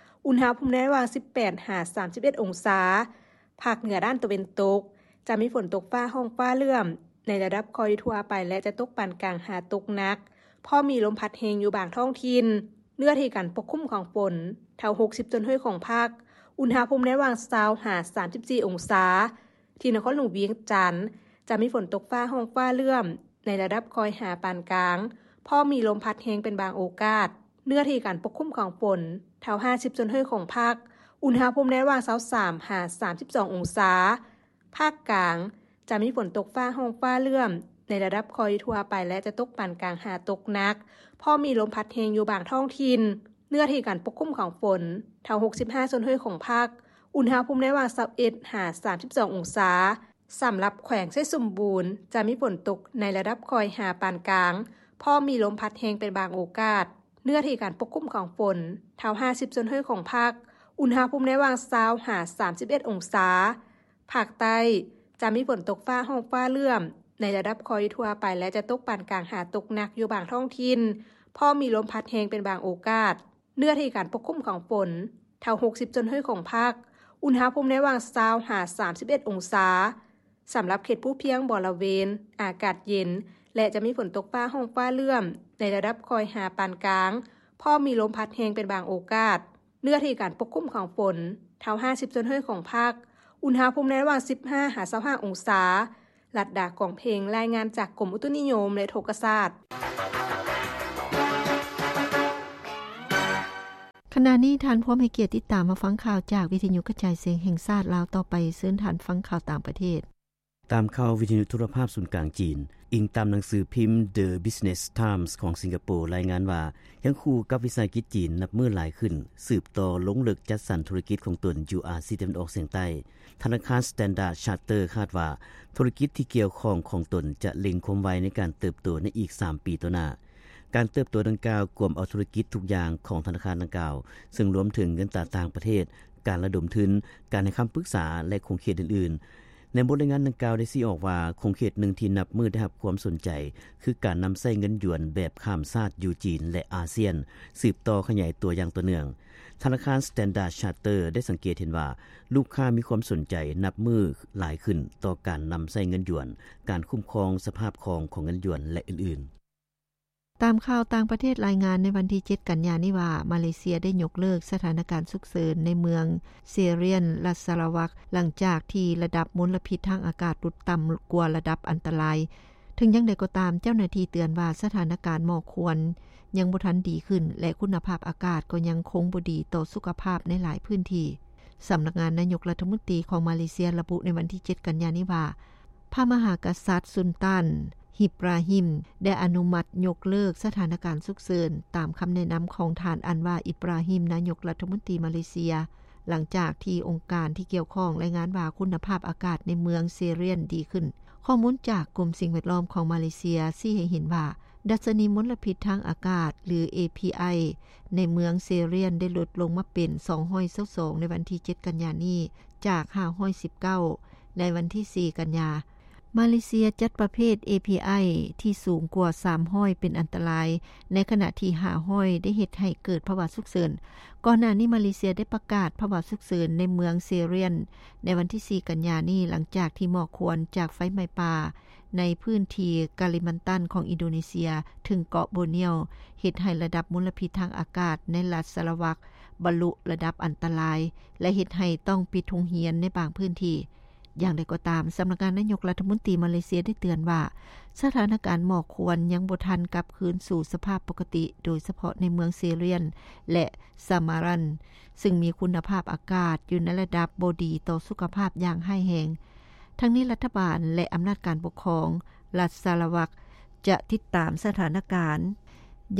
ອຸນຫະພູມໃນລະຫວ່າງສິບແປດຫາສາມສິບເອັດອົງສາ. ພາກເໜືອດ້ານຕາເວັນຕົກ ຈະມີຝົນຕົກຟ້າຮ້ອງຟ້າເຫຼື້ອມ ໃນລະດັບຄ່ອຍຢູ່ທົ່ວໄປ ແລະ ຈະຕົກປານກາງຫາຕົກໜັກ, ພໍມີລົມພັດແຮງຢູ່ບາງທ້ອງຖິ່ນ. ເນື້ອທີ່ການປົກຄຸມຂອງຝົນ ເທົ່າຫົກສິບສ່ວນຮ້ອຍຂອງພາກ, ອຸນຫະພູມໃນລະຫວ່າງຊາວຫາສາມສິບສີ່ອົງສາ. ທີ່ນະຄອນຫຼວງວຽງຈັນ ຈະມີຝົນຕົກຟ້າຮ້ອງຟ້າເຫຼື້ອມ ໃນລະດັບຄ່ອຍຫາປານກາງ, ພໍມີລົມພັດແຮງເປັນບາງໂອກາດ. ເນື້ອທີ່ການປົກຄຸມຂອງຝົນ ເທົ່າຫ້າສິບສ່ວນຮ້ອຍຂອງພາກ, ອຸນຫະພູມໃນລະຫວ່າງຊາວສາມຫາສາມສິບສອງອົງສາ. ພາກກາງ ຈະມີຝົນຕົກຟ້າຮ້ອງຟ້າເຫຼື້ອມ ໃນລະດັບຄ່ອຍຢູ່ທົ່ວໄປ ແລະ ຈະຕົກປານກາງຫາຕົກໜັກ, ພໍມີລົມພັດແຮງຢູ່ບາງທ້ອງຖິ່ນ. ເນື້ອທີ່ການປົກຄຸມຂອງຝົນ ເທົ່າຫົກສິບຫ້າສ່ວນຮ້ອຍຂອງພາກ, ອຸນຫະພູມໃນລະຫວ່າງຊາວເອັດຫາສາມສິບສອງອົງສາ. ສຳລັບແຂວງໄຊສົມບູນ ຈະມີຝົນຕົກໃນລະດັບຄ່ອຍຫາປານກາງ, ພໍມີລົມພັດແຮງເປັນບາງໂອກາດ. ເນື້ອທີ່ການປົກຄຸມຂອງຝົນ ເທົ່າຫ້າສິບສ່ວນຮ້ອຍຂອງພາກ, ອຸນຫະພູມໃນລະຫວ່າງຊາວຫາສາມສິບເອັດອົງສາ. ພາກໃຕ້ ຈະມີຝົນຕົກຟ້າຮ້ອງຟ້າເຫຼື້ອມ ໃນລະດັບຄ່ອຍຢູ່ທົ່ວໄປ ແລະ ຈະຕົກປານກາງຫາຕົກໜັກຢູ່ບາງທ້ອງຖິ່ນ, ພໍມີລົມພັດແຮງເປັນບາງໂອກາດ. ເນື້ອທີ່ການປົກຄຸມຂອງຝົນ ເທົ່າຫົກສິບສ່ວນຮ້ອຍຂອງພາກ, ອຸນຫະພູມໃນລະຫວ່າງຊາວຫາສາມສິບເອັດອົງສາ. ສຳລັບເຂດພູພຽງບໍລະເວນ ອາກາດເຢັນ ແລະ ຈະມີຝົນຕົກຟ້າຮ້ອງຟ້າເຫຼື້ອມ ໃນລະດັບຄ່ອຍຫາປານກາງ, ພໍມີລົມພັດແຮງເປັນບາງໂອກາດ. ເນື້ອທີ່ການປົກຄຸມຂອງຝົນ ເທົ່າຫ້າສິບສ່ວນຮ້ອຍຂອງພາກ, ອຸນຫະພູມໃນລະຫວ່າງສິບຫ້າຫາຊາວຫ້າອົງສາ. ລັດດາ ກອງເພັງ ລາຍງານຈາກກົມອຸຕຸນິຍົມ ແລະ ອຸທົກກະສາດ. ຂະນະນີ້ທ່ານພວມໃຫ້ກຽດຕິດຕາມມາຟັງຂ່າວຈາກວິທະຍຸກະຈາຍສຽງແຫ່ງຊາດລາວຕໍ່ໄປ. ເຊີນທ່ານຟັງຂ່າວຕ່າງປະເທດ. ຕາມຂ່າວວິທະຍຸໂທລະພາບສູນກາງຈີນ, ອີງຕາມໜັງສືພິມ The Business Times ຂອງສິງກະໂປ ລາຍງານວ່າ ຄຽງຄູ່ກັບວິສາຫະກິດຈີນນັບມື້ຫຼາຍຂຶ້ນ, ສືບຕໍ່ລົງເລິກຈັດສັນທຸລະກິດຂອງຕົນຢູ່ອາຊີຕາເວັນອອກສຽງໃຕ້. ທະນາຄານ Standard Chartered ຄາດວ່າ ທຸລະກິດທີ່ກ່ຽວຂ້ອງຂອງຕົນຈະເລັ່ງຄວາມໄວໃນການເຕີບໂຕໃນອີກສາມປີຕໍ່ໜ້າ. ການເຕີບໂຕດັ່ງກ່າວກວມເອົາທຸລະກິດທຸກຢ່າງຂອງທະນາຄານດັ່ງກ່າວ, ເຊິ່ງລວມເຖິງເງິນຕາຕ່າງປະເທດ, ການລະດົມທຶນ, ການໃຫ້ຄຳປຶກສາ ແລະ ຂົງເຂດອື່ນໆ. ໃນບົດລາຍງານດັ່ງກ່າວໄດ້ຊີ້ອອກວ່າ, ຂົງເຂດໜຶ່ງທີ່ນັບມື້ໄດ້ຮັບຄວາມສົນໃຈ ຄືການນຳໃຊ້ເງິນຢວນແບບຂ້າມຊາດຢູ່ຈີນ ແລະ ອາຊຽນ, ສືບຕໍ່ຂະຫຍາຍຕົວຢ່າງຕໍ່ເນື່ອງ. ທະນາຄານ Standard Chartered ໄດ້ສັງເກດເຫັນວ່າ ລູກຄ້າມີຄວາມສົນໃຈນັບມື້ຫຼາຍຂຶ້ນຕໍ່ການນຳໃຊ້ເງິນຢວນ, ການຄຸ້ມຄອງສະພາບຄ່າຂອງເງິນຢວນ ແລະ ອື່ນໆ. ຕາມຂ່າວຕ່າງປະເທດລາຍງານໃນວັນທີເຈັດກັນຍານີ້ວ່າ, ມາເລເຊຍໄດ້ຍົກເລີກສະຖານະການສຸກເສີນໃນເມືອງເຊຣຽນ ລັດສາລະວັກ ຫຼັງຈາກທີ່ລະດັບມົນລະພິດທາງອາກາດຫຼຸດຕ່ຳກວ່າລະດັບອັນຕະລາຍ. ເຖິງຢ່າງໃດກໍຕາມ, ເຈົ້າໜ້າທີ່ເຕືອນວ່າສະຖານະການໝອກຄວັນຍັງບໍ່ທັນດີຂຶ້ນ ແລະ ຄຸນນະພາບອາກາດກໍຍັງຄົງບໍ່ດີຕໍ່ສຸຂະພາບໃນຫຼາຍພື້ນທີ່. ສຳນັກງານນາຍົກລັດຖະມົນຕີຂອງມາເລເຊຍລະບຸໃນວັນທີເຈັດກັນຍານີ້ວ່າ, ພະມະຫາກະສັດສຸນຕັນ ອິບຣາຮິມ ໄດ້ອະນຸມັດຍົກເລີກສະຖານະການສຸກເສີນ ຕາມຄຳແນະນຳຂອງທ່ານ ອັນວາ ອິບຣາຮິມ ນາຍົກລັດຖະມົນຕີມາເລເຊຍ, ຫຼັງຈາກທີ່ອົງການທີ່ກ່ຽວຂ້ອງລາຍງານວ່າຄຸນນະພາບອາກາດໃນເມືອງເຊຣຽນດີຂຶ້ນ. ຂໍ້ມູນຈາກກົມສິ່ງແວດລ້ອມຂອງມາເລເຊຍຊີ້ໃຫ້ເຫັນວ່າ ດັດຊະນີມົນລະພິດທາງອາກາດ ຫຼື ເອພີໄອ ໃນເມືອງເຊຣຽນໄດ້ຫຼຸດລົງມາເປັນສອງຮ້ອຍຊາວສອງໃນວັນທີເຈັດກັນຍານີ້ ຈາກຫ້າຮ້ອຍສິບເກົ້າໃນວັນທີສີ່ກັນຍາ. ມາເລເຊຍຈັດປະເພດ ເອພີໄອ ທີ່ສູງກວ່າສາມຮ້ອຍເປັນອັນຕະລາຍ, ໃນຂະນະທີ່ຫ້າຮ້ອຍໄດ້ເຮັດໃຫ້ເກີດພາວະສຸກເສີນ. ກ່ອນໜ້ານີ້ມາເລເຊຍໄດ້ປະກາດພາວະສຸກເສີນໃນເມືອງເຊຣຽນໃນວັນທີສີ່ກັນຍານີ້, ຫຼັງຈາກທີ່ໝອກຄວັນຈາກໄຟໄໝ້ປ່າ ໃນພື້ນທີ່ກາລິມັນຕັນຂອງອິນໂດເນເຊຍ ເຖິງເກາະໂບເນຍວ ເຮັດໃຫ້ລະດັບມົນລະພິດທາງອາກາດໃນລັດສາລະວັກບັນລຸລະດັບອັນຕະລາຍ ແລະ ເຮັດໃຫ້ຕ້ອງປິດໂຮງຮຽນໃນບາງພື້ນທີ່. ຢ່າງໃດກໍຕາມ, ສຳນັກງານນາຍົກລັດຖະມົນຕີມາເລເຊຍໄດ້ເຕືອນວ່າ ສະຖານະການໝອກຄວັນຍັງບໍ່ທັນກັບຄືນສູ່ສະພາບປົກກະຕິ, ໂດຍສະເພາະໃນເມືອງເຊຣຽນ ແລະ ສາມາຣັນ ຊຶ່ງມີຄຸນນະພາບອາກາດຢູ່ໃນລະດັບບໍ່ດີຕໍ່ສຸຂະພາບຢ່າງຮ້າຍແຮງ. ທັງນີ້ລັດຖະບານ ແລະ ອຳນາດການປົກຄອງລັດສາລະວັກ ຈະຕິດຕາມສະຖານະການ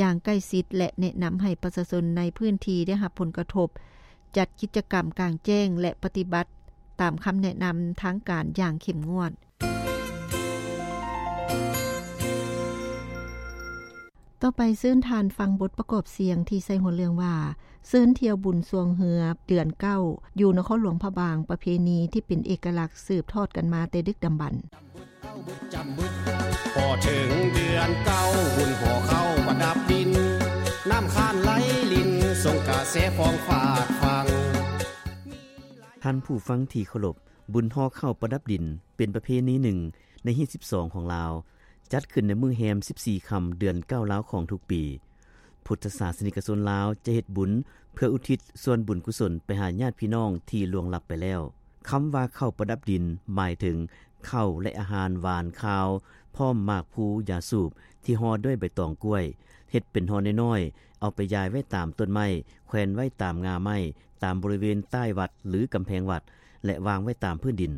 ຢ່າງໃກ້ຊິດ ແລະ ແນະນຳໃຫ້ປະຊາຊົນໃນພື້ນທີ່ໄດ້ຮັບຜົນກະທົບ ຈັດກິດຈະກຳກາງແຈ້ງ ແລະ ປະຕິບັດຕາມຄຳແນະນຳທາງການຢ່າງເຂັ້ມງວດ. ຕໍ່ໄປເຊີນທ່ານຟັງບົດປະກອບສຽງທີ່ໃສ່ຫົວເລື່ອງວ່າ ເຊີນທ່ຽວບຸນຊ່ວງເຮືອເດືອນເກົ້າ ຢູ່ນະຄອນຫຼວງພະບາງ, ປະເພນີທີ່ເປັນເອກະລັກສືບທອດກັນມາແຕ່ດຶກດຳບັນ. ພໍເຖິງເດືອນເກົ້າ ບຸນຫໍເຂົ້າປະດັບດິນ ນ້ຳຄ້ານໄຫຼລິນ ສົ່ງກະແສຟອງຟາດຝັ່ງ. ທ່ານຜູ້ຟັງທີ່ເຄົາລົບ, ບຸນຫໍເຂົ້າປະດັບດິນ ເປັນປະເພນີໜຶ່ງໃນຮີດສິບສອງຂອງລາວ, ຈັດຂຶ້ນໃນມື້ແຮມສິບສີ່ຄ່ຳເດືອນເກົ້າລາວຂອງທຸກປີ. ພຸດທະສາສະນິກະຊົນລາວຈະເຮັດບຸນເພື່ອອຸທິດສ່ວນບຸນກຸສົນໄປຫາຍາດພີ່ນ້ອງທີ່ລ່ວງລັບໄປແລ້ວ. ຄຳວ່າເຂົ້າປະດັບດິນ ໝາຍເຖິງເຂົ້າ ແລະ ອາຫານຫວານຄາວ ພ້ອມໝາກພູ ຢາສູບທີ່ຫໍ່ດ້ວຍໃບຕອງກ້ວຍ, ເຮັດເປັນຫໍ່ນ້ອຍໆ ເອົາໄປຢາຍໄວ້ຕາມຕົ້ນໄມ້, ແຂວນໄວ້ຕາມງ່າໄມ້, ຕາມບໍລິເວນໃຕ້ວັດ ຫຼື ກຳແພງວັດ ແລະ ວາງໄວ້ຕາມພື້ນດິນ.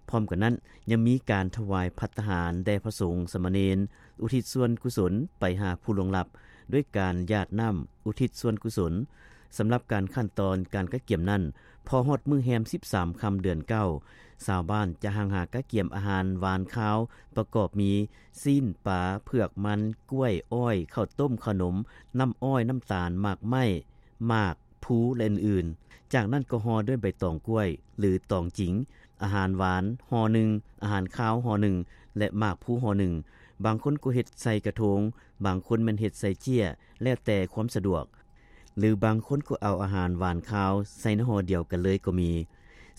ພ້ອມກັນນັ້ນ ຍັງມີການຖວາຍພັດຕາຫານແດ່ພະສົງສາມະເນນ, ອຸທິດສ່ວນກຸສົນໄປຫາຜູ້ລ່ວງລັບ ດ້ວຍການຢາດນ້ຳອຸທິດສ່ວນກຸສົນ. ສຳລັບການຂັ້ນຕອນການກະກຽມນັ້ນ, ພໍຮອດມື້ແຮມສິບສາມຄ່ຳເດືອນເກົ້າ, ຊາວບ້ານຈະຮັ່ງຫາກະກຽມອາຫານຫວານຄາວ ປະກອບມີ ຊີ້ນ, ປາ, ເຜືອກ, ມັນ, ກ້ວຍ, ອ້ອຍ, ເຂົ້າຕົ້ມ, ເຂົ້າໜົມ, ນ້ຳອ້ອຍ, ນ້ຳຕານ, ໝາກໄມ້, ໝາກ, ພູ ແລະ ອື່ນໆ. ຈາກນັ້ນກໍຫໍ່ດ້ວຍໃບຕອງກ້ວຍ ຫຼື ຕອງຈິງ, ອາຫານຫວານຫໍ່ໜຶ່ງ, ອາຫານຄາວຫໍ່ໜຶ່ງ ແລະ ໝາກພູຫໍ່ໜຶ່ງ. ບາງຄົນກໍເຮັດໃສ່ກະທົງ, ບາງຄົນແມ່ນເຮັດໃສ່ເຈ້ຍ, ແລ້ວແຕ່ຄວາມສະດວກ. ຫຼື ບາງຄົນກໍເອົາອາຫານຫວານຄາວໃສ່ໃນຫໍ່ດຽວກັນເລີຍກໍມີ.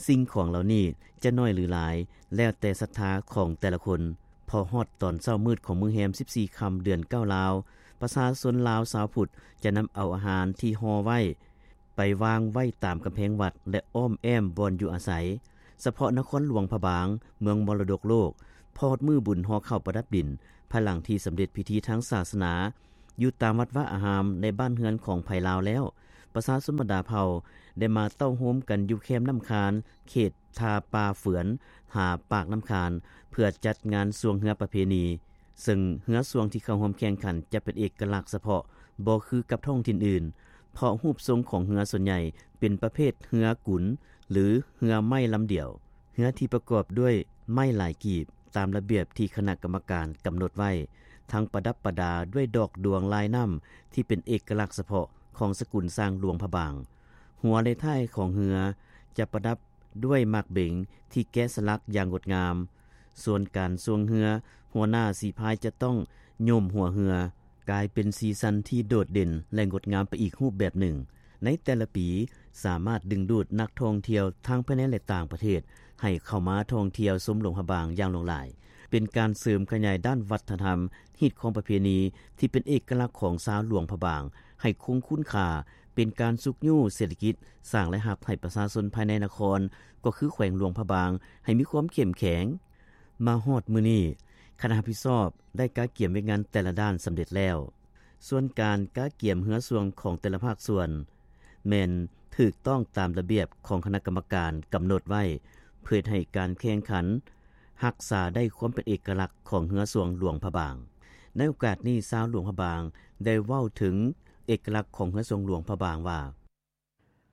ສິ່ງຂອງເຫຼົ່ານີ້ຈະໜ້ອຍ ຫຼື ຫຼາຍ ແລ້ວແຕ່ສັດທາຂອງແຕ່ລະຄົນ. ພໍຮອດຕອນເຊົ້າມືດຂອງມື້ແຮມສິບສີ່ຄ່ຳເດືອນເກົ້າລາວ, ປະຊາຊົນລາວຊາວພຸດຈະນຳເອົາອາຫານທີ່ຫໍ່ໄວ້ ໄປວາງໄວ້ຕາມກຳແພງວັດ ແລະ ອ້ອມແອ້ມບ່ອນຢູ່ອາໄສ. ສະເພາະນະຄອນຫຼວງພະບາງ, ເມືອງມໍລະດົກໂລກ, ພໍຮອດມື້ບຸນຫໍ່ເຂົ້າປະດັບດິນ, ພາຍຫຼັງທີ່ສຳເລັດພິທີທາງສາສະໜາ ຢູ່ຕາມວັດວາອາຮາມໃນບ້ານເຮືອນຂອງໃຜລາວແລ້ວ, ປະຊາຊົນບັນດາເຜົ່າໄດ້ມາເຕົ້າໂຮມກັນຢູ່ແຄມນ້ຳຄານ ເຂດທ່າປ່າເຝືອນ ຫາປາກນ້ຳຄານ ເພື່ອຈັດງານຊ່ວງເຮືອປະເພນີ. ເຊິ່ງເຮືອຊ່ວງທີ່ເຂົ້າຮ່ວມແຂ່ງຂັນຈະເປັນເອກະລັກສະເພາະ, ບໍ່ຄືກັບທ້ອງຖິ່ນອື່ນ, ເພາະຮູບຊົງຂອງເຮືອສ່ວນໃຫຍ່ເປັນປະເພດເຮືອກຸນ ຫຼື ເຮືອໄມ້ລຳດຽວ. ເຮືອທີ່ປະກອບດ້ວຍໄມ້ຫຼາຍກີບ ຕາມລະບຽບທີ່ຄະນະກຳມະການກຳນົດໄວ້, ທັງປະດັບປະດາດ້ວຍດອກດວງລາຍນ້ຳທີ່ເປັນເອກະລັກສະເພາະຂອງສະກຸນຊ້າງຫຼວງພະບາງ. ຫົວ ແລະ ທ້າຍຂອງເຮືອຈະປະດັບດ້ວຍໝາກເບັງທີ່ແກະສະຫຼັກຢ່າງງົດງາມ. ສ່ວນການຊ່ວງເຮືອ, ຫົວໜ້າສີພາຍຈະຕ້ອງໂຍມຫົວເຮືອ, ກາຍເປັນສີສັນທີ່ໂດດເດັ່ນ ແລະ ງົດງາມໄປອີກຮູບແບບໜຶ່ງ. ໃນແຕ່ລະປີ ສາມາດດຶງດູດນັກທ່ອງທ່ຽວທັງພາຍໃນ ແລະ ຕ່າງປະເທດ ໃຫ້ເຂົ້າມາທ່ອງທ່ຽວຊົມຫຼວງພະບາງຢ່າງຫຼວງຫຼາຍ, ເປັນການເສີມຂະຫຍາຍດ້ານວັດທະນະທຳ, ຮີດຄອງປະເພນີທີ່ເປັນເອກະລັກຂອງຊາວຫຼວງພະບາງ ໃຫ້ຄົງຄຸນຄ່າ, ເປັນການຊຸກຍູ້ເສດຖະກິດ, ສ້າງລາຍຮັບໃຫ້ປະຊາຊົນພາຍໃນນະຄອນ ກໍຄືແຂວງຫຼວງພະບາງ ໃຫ້ມີຄວາມເຂັ້ມແຂງ. ມາຮອດມື້ນີ້, ຄະນະຮັບຜິດຊອບໄດ້ກະກຽມວຽກງານແຕ່ລະດ້ານສຳເລັດແລ້ວ. ສ່ວນການກະກຽມເຮືອຊ່ວງຂອງແຕ່ລະພາກສ່ວນ ແມ່ນຖືກຕ້ອງຕາມລະບຽບຂອງຄະນະກຳມະການກຳນົດໄວ້ ເພື່ອເຮັດໃຫ້ການແຂ່ງຂັນຮັກສາໄດ້ຄວາມເປັນເອກະລັກຂອງເຮືອຊ່ວງຫຼວງພະບາງ. ໃນໂອກາດນີ້, ຊາວຫຼວງພະບາງໄດ້ເວົ້າເຖິງເອກະລັກຂອງເຮືອຊ່ວງຫຼວງພະບາງວ່າ,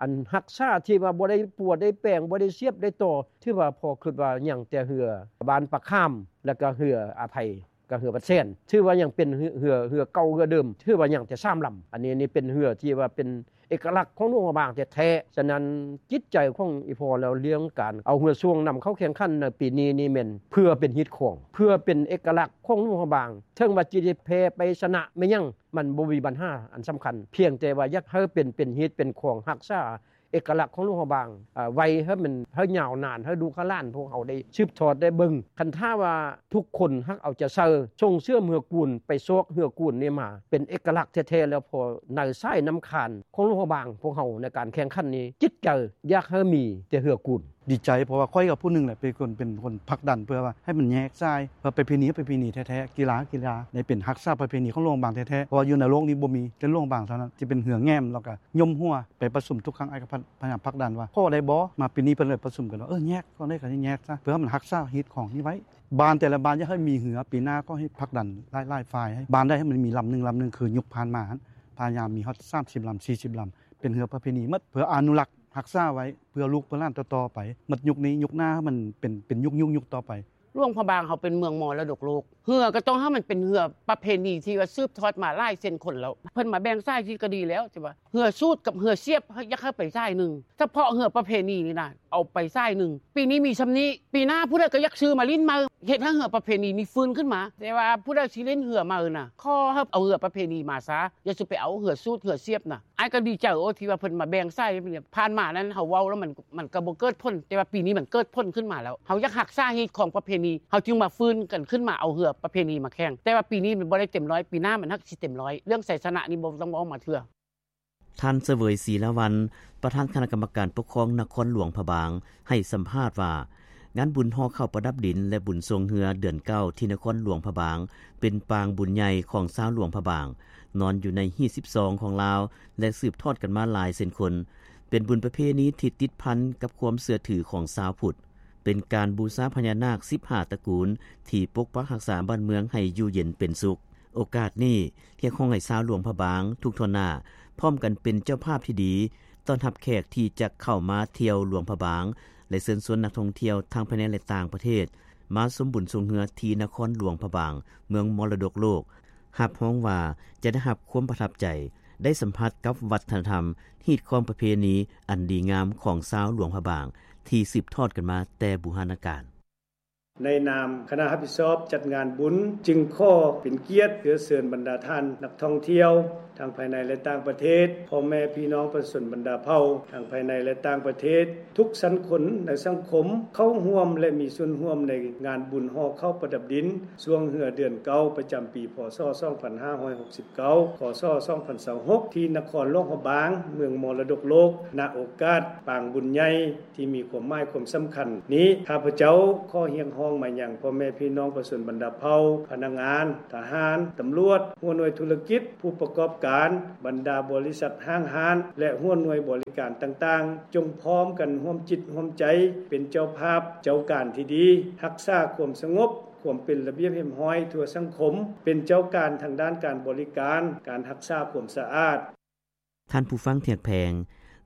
ອັນຮັກສາທີ່ວ່າບໍ່ໄດ້ປົວໄດ້ແປງ ບໍ່ໄດ້ສຽບໄດ້ຕໍ່ ຖືວ່າພໍຄິດວ່າຍັງແຕ່ເຮືອບ້ານປາຂາມ ແລ້ວກໍເຮືອອາໄພ ກັບເຮືອວັດແສນ ຖືວ່າຍັງເປັນເຮືອ ເຮືອ ເຮືອເກົ່າເຮືອເດີມ ຖືວ່າຍັງແຕ່ສາມລຳ. ອັນນີ້ ນີ້ເປັນເຮືອທີ່ວ່າເປັນເອກະລັກຂອງຫຼວງພະບາງແທ້ໆ. ສະນັ້ນ ຈິດໃຈຂອງອີ່ພໍ່ລາວ ເລື່ອງການເອົາເຮືອຊ່ວງນຳເຂົ້າແຂ່ງຂັນໃນປີນີ້ນີ້ ແມ່ນເພື່ອເປັນຮີດຄອງ ເພື່ອເປັນເອກະລັກຂອງຫຼວງພະບາງ. ເຖິງວ່າຈະໄດ້ແພ້ໄປຊະນະແມ່ນຫຍັງ ມັນບໍ່ມີບັນຫາອັນສຳຄັນ ພຽງແຕ່ວ່າຢາກໃຫ້ເປັນ ເປັນຮີດເປັນຄອງ ຮັກສາເອກະລັກຂອງຫຼວງພະບາງ ອາ ໄວ້ໃຫ້ມັນ ໃຫ້ຍາວນານ ໃຫ້ລູກໃຫ້ຫຼານພວກເຮົາໄດ້ສືບທອດໄດ້ເບິ່ງ. ຄັນຖ້າວ່າທຸກຄົນຮັກເອົາໃຈໃສ່ ສົ່ງເສີມເຮືອກູນ ໄປຊອກເຮືອກູນນີ້ມາ ເປັນເອກະລັກແທ້ໆ ແລ້ວ ເພາະໃນສາຍນ້ຳຄານຂອງຫຼວງພະບາງ ພວກເຮົາໃນການແຂ່ງຂັນນີ້ ຈິດໃຈຢາກໃຫ້ມີແຕ່ເຮືອກູນ. ດີໃຈ ເພາະວ່າຂ້ອຍກໍຜູ້ໜຶ່ງແຫຼະ ເປັນຄົນ ເປັນຄົນຜັກດັນເພື່ອວ່າໃຫ້ມັນແຍກສາຍ ເພື່ອປະເພນີ ປະເພນີແທ້ໆ ກິລາ ກິລາ ໃນເປັນຮັກສາປະເພນີຂອງຫຼວງພະບາງແທ້ໆ ເພາະວ່າຢູ່ໃນໂລກນີ້ບໍ່ມີ ແຕ່ຫຼວງພະບາງເທົ່ານັ້ນ ທີ່ເປັນເຮືອແຫງມ ແລ້ວກໍຍົມຫົວ ໄປປະຊຸມທຸກຄັ້ງ ອ້າຍກໍພະ ພະຍາຍາມຜັກດັນວ່າ ພໍໄດ້ບໍ່? ມາປີນີ້ເພິ່ນເລີຍປະຊຸມກັນວ່າ ເອີ ແຍກ ເທົ່າໃດກໍແຍກຊະ ເພື່ອໃຫ້ມັນຮັກສາຮີດຄອງນີ້ໄວ້. ບ້ານແຕ່ລະບ້ານຢາກໃຫ້ມີເຮືອ ປີໜ້າກໍໃຫ້ຜັກດັນຫຼາຍໆຝ່າຍ ໃຫ້ບ້ານໃດໃຫ້ມັນມີລຳໜຶ່ງ ລຳໜຶ່ງ ຄືຍຸກຜ່ານມາຫັ້ນ ພະຍາຍາມມີຮອດສາມສິບລຳ ສີ່ສິບລຳ ເປັນເຮືອປະເພນີໝົດ ເພື່ອອະນຸລັກຮັກສາໄວ້ ເພື່ອລູກເພື່ອຫຼານຕໍ່ໆໄປ ໝົດຍຸກນີ້ ຍຸກໜ້າໃຫ້ມັນເປັນ ເປັນຍຸກໆ ຍຸກຕໍ່ໄປ. ຫຼວງພະບາງເຮົາເປັນເມືອງມໍລະດົກໂລກ ເຮືອກໍຕ້ອງໃຫ້ມັນເປັນເຮືອປະເພນີທີ່ວ່າສືບທອດມາຫຼາຍເຊັ່ນຄົນແລ້ວ ເພິ່ນມາແບ່ງສາຍທີ່ກໍດີແລ້ວ ທີ່ວ່າເຮືອສູດກັບເຮືອສຽບ ຢາກໃຫ້ໄປສາຍໜຶ່ງ ສະເພາະເຮືອປະເພນີນີ້ນະ ເອົາໄປສາຍໜຶ່ງ ປີນີ້ມີຊ່ຳນີ້ ປີໜ້າຜູ້ໃດກໍຢາກຊື້ມາຫຼິ້ນໃໝ່ ເຮັດໃຫ້ເຮືອປະເພນີນີ້ຟື້ນຂຶ້ນມາ ແຕ່ວ່າຜູ້ໃດຊິຫຼິ້ນເຮືອໃໝ່ນະ ຂໍໃຫ້ເອົາເຮືອປະເພນີມາຊະ ຢ່າສູ່ໄປເອົາເຮືອສູດເຮືອສຽບນະ. ອ້າຍກໍດີໃຈໂອ ທີ່ວ່າເພິ່ນມາແບ່ງສາຍ ຜ່ານມານັ້ນເຮົາເວົ້າແລ້ວມັນ ມັນກໍບໍ່ເກີດຜົນ ແຕ່ວ່າປີນີ້ມັນເກີດຜົນຂຶ້ນມາແລ້ວ ເຮົາຢາກຮັກສາຮີດຄອງປະເພນີ ເຮົາຈຶ່ງມາຟື້ນກັນຂຶ້ນມາເອົາເຮືອປະເພນີມາແຂ່ງ ແຕ່ວ່າປີນີ້ມັນບໍ່ໄດ້ເຕັມຮ້ອຍ ປີໜ້າມັນຮັກຊິເຕັມຮ້ອຍ ເລື່ອງໄຊຊະນະນີ້ບໍ່ຕ້ອງເວົ້າມາເທື່ອ. ທ່ານ ສະເຫວີຍ ສີລາວັນ ປະທານຄະນະກຳມະການປົກຄອງນະຄອນຫຼວງພະບາງ ໃຫ້ສຳພາດວ່າ ງານບຸນຫໍ່ເຂົ້າປະດັບດິນ ແລະ ບຸນຊ່ວງເຮືອເດືອນເກົ້າ ທີ່ນະຄອນຫຼວງພະບາງ ເປັນປາງບຸນໃຫຍ່ຂອງຊາວຫຼວງພະບາງ ນອນຢູ່ໃນຮີດສິບສອງຂອງລາວ ແລະ ສືບທອດກັນມາຫຼາຍເຊັ່ນຄົນ ເປັນບຸນປະເພນີທີ່ຕິດພັນກັບຄວາມເຊື່ອຖືຂອງຊາວພຸດ, ເປັນການບູຊາພະຍານາກສິບຫ້າຕະກູນ ທີ່ປົກປັກຮັກສາບ້ານເມືອງໃຫ້ຢູ່ເຢັນເປັນສຸກ. ໂອກາດນີ້ ຮຽກຮ້ອງໃຫ້ຊາວຫຼວງພະບາງທຸກທົ່ວໜ້າ ພ້ອມກັນເປັນເຈົ້າພາບທີ່ດີ ຕ້ອນຮັບແຂກທີ່ຈະເຂົ້າມາທ່ຽວຫຼວງພະບາງ ແລະ ເຊີນຊວນນັກທ່ອງທ່ຽວທັງພາຍໃນ ແລະ ຕ່າງປະເທດ ມາຊົມບຸນຊ່ວງເຮືອທີ່ນະຄອນຫຼວງພະບາງ ເມືອງມໍລະດົກໂລກ, ຮັບຮອງວ່າຈະໄດ້ຮັບຄວາມປະທັບໃຈ, ໄດ້ສຳຜັດກັບວັດທະນະທຳ, ຮີດຄອງປະເພນີອັນດີງາມຂອງຊາວຫຼວງພະບາງ ທີ່ສືບທອດກັນມາແຕ່ບູຮານະການ. ໃນນາມຄະນະຮັບຜິດຊອບຈັດງານບຸນ ຈຶ່ງຂໍເປັນກຽດເຊື້ອເຊີນບັນດາທ່ານນັກທ່ອງທ່ຽວ ທັງພາຍໃນ ແລະ ຕ່າງປະເທດ, ພໍ່ແມ່ພີ່ນ້ອງປະຊາຊົນບັນດາເຜົ່າ ທັງພາຍໃນ ແລະ ຕ່າງປະເທດ, ທຸກຊັ້ນຄົນໃນສັງຄົມ ເຂົ້າຮ່ວມ ແລະ ມີສ່ວນຮ່ວມໃນງານບຸນຫໍ່ເຂົ້າປະດັບດິນ ຊ່ວງເຮືອເດືອນເກົ້າ ປະຈຳປີ ພ.ສ. ສອງພັນຫ້າຮ້ອຍຫົກສິບເກົ້າ ຄ.ສ. ສອງພັນຊາວຫົກ ທີ່ນະຄອນຫຼວງພະບາງ ເມືອງມໍລະດົກໂລກ ນະໂອກາດປາງບຸນໃຫຍ່ ທີ່ມີຄວາມໝາຍຄວາມສຳຄັນນີ້ ຂ້າພະເຈົ້າຂໍຮຽກຮ້ອງມາຍັງພໍ່ແມ່ພີ່ນ້ອງປະຊາຊົນບັນດາເຜົ່າ, ພະນັກງານ, ທະຫານ, ຕຳຫຼວດ, ຫົວໜ່ວຍທຸລະກິດ, ຜູ້ປະກອບການ, ບັນດາບໍລິສັດຫ້າງຮ້ານ ແລະ ຫົວໜ່ວຍບໍລິການຕ່າງໆ ຈົ່ງພ້ອມກັນຮ່ວມຈິດຮ່ວມໃຈ ເປັນເຈົ້າພາບເຈົ້າການທີ່ດີ, ຮັກສາຄວາມສະຫງົບ, ຄວາມເປັນລະບຽບຮຽບຮ້ອຍທົ່ວສັງຄົມ, ເປັນເຈົ້າການທາງດ້ານການບໍລິການ, ການຮັກສາຄວາມສະອາດ. ທ່ານຜູ້ຟັງທີ່ຮັກແພງ,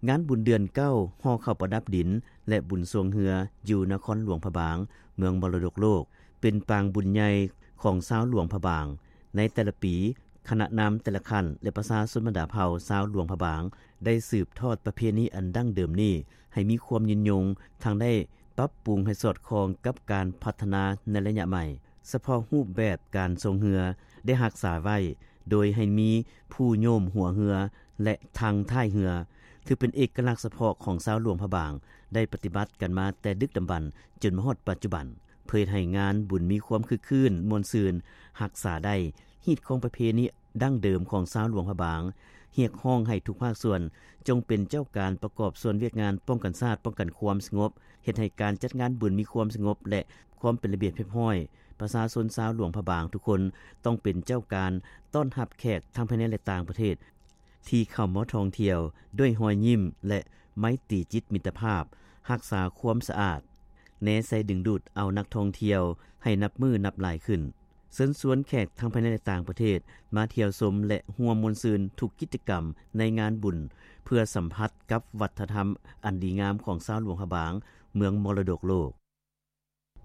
ງານບຸນເດືອນເກົ້າ ຫໍ່ເຂົ້າປະດັບດິນ ແລະ ບຸນຊ່ວງເຮືອ ຢູ່ນະຄອນຫຼວງພະບາງ ເມືອງມໍລະດົກໂລກ ເປັນປາງບຸນໃຫຍ່ຂອງຊາວຫຼວງພະບາງ. ໃນແຕ່ລະປີ, ຄະນະນຳແຕ່ລະຂັ້ນ ແລະ ປະຊາຊົນບັນດາເຜົ່າຊາວຫຼວງພະບາງ ໄດ້ສືບທອດປະເພນີອັນດັ້ງເດີມນີ້ ໃຫ້ມີຄວາມຍືນຍົງ, ທັງໄດ້ປັບປຸງໃຫ້ສອດຄ່ອງກັບການພັດທະນາໃນໄລຍະໃໝ່. ສະເພາະຮູບແບບການຊ່ວງເຮືອໄດ້ຮັກສາໄວ້ ໂດຍໃຫ້ມີຜູ້ໂຍມຫົວເຮືອ ແລະ ຖັງທ້າຍເຮືອ ຖືເປັນເອກະລັກສະເພາະຂອງຊາວຫຼວງພະບາງ ໄດ້ປະຕິບັດກັນມາແຕ່ດຶກດຳບັນຈົນມາຮອດປັດຈຸບັນ ເພື່ອເຮັດໃຫ້ງານບຸນມີຄວາມຄຶກຄື້ນມ່ວນຊື່ນ, ຮັກສາໄດ້ຮີດຄອງປະເພນີ ດັ້ງເດີມຂອງຊາວຫຼວງພະບາງ, ຮຽກຮ້ອງໃຫ້ທຸກພາກສ່ວນຈົ່ງເປັນເຈົ້າການປະກອບສ່ວນວຽກງານປ້ອງກັນຊາດ, ປ້ອງກັນຄວາມສະຫງົບ, ເຮັດໃຫ້ການຈັດງານບຸນມີຄວາມສະຫງົບ ແລະ ຄວາມເປັນລະບຽບຮຽບຮ້ອຍ. ປະຊາຊົນຊາວຫຼວງພະບາງທຸກຄົນຕ້ອງເປັນເຈົ້າການຕ້ອນຮັບແຂກທັງພາຍໃນ ແລະ ຕ່າງປະເທດ ທີ່ເຂົ້າມາທ່ອງທ່ຽວດ້ວຍຮອຍຍິ້ມ ແລະ ໄມຕີຈິດມິດຕະພາບ, ຮັກສາຄວາມສະອາດ, ແນໃສ່ດຶງດູດເອົານັກທ່ອງທ່ຽວໃຫ້ນັບມື້ນັບຫຼາຍຂຶ້ນ. ເຊີນຊວນແຂກທັງພາຍໃນ ແລະ ຕ່າງປະເທດ ມາທ່ຽວຊົມ ແລະ ຮ່ວມມ່ວນຊື່ນທຸກກິດຈະກຳໃນງານບຸນ ເພື່ອສຳຜັດກັບວັດທະນະທຳອັນດີງາມຂອງຊາວຫຼວງພະບາງ ເມືອງມໍລະດົກໂລກ.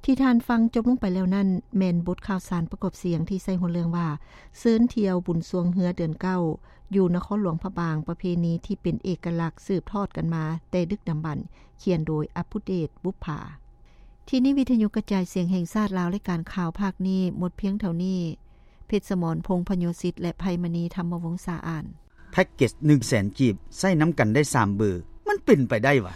ທີ່ທ່ານຟັງຈົບລົງໄປແລ້ວນັ້ນ ແມ່ນບົດຂ່າວສານປະກອບສຽງທີ່ໃສ່ຫົວເລື່ອງວ່າ ເຊີນທ່ຽວບຸນຊ່ວງເຮືອເດືອນເກົ້າ ຢູ່ນະຄອນຫຼວງພະບາງ ປະເພນີທີ່ເປັນເອກະລັກສືບທອດກັນມາແຕ່ດຶກດຳບັນ, ຂຽນໂດຍ ອັບພູເດດ ບຸບຜາ. ທີ່ນີ້ວິທະຍຸກະຈາຍສຽງແຫ່ງຊາດລາວ ລາຍການຂ່າວພາກນີ້ໝົດພຽງເທົ່ານີ້. ເພັດສະໝອນ ພົງພະໂຍສິດ ແລະ ໄພມະນີ ທຳມະວົງສາອານ. ແພັກເກັດໜຶ່ງແສນກີບ ໃຊ້ນຳກັນໄດ້ສາມເບີ ມັນເປັນໄປໄດ້ຫວາ?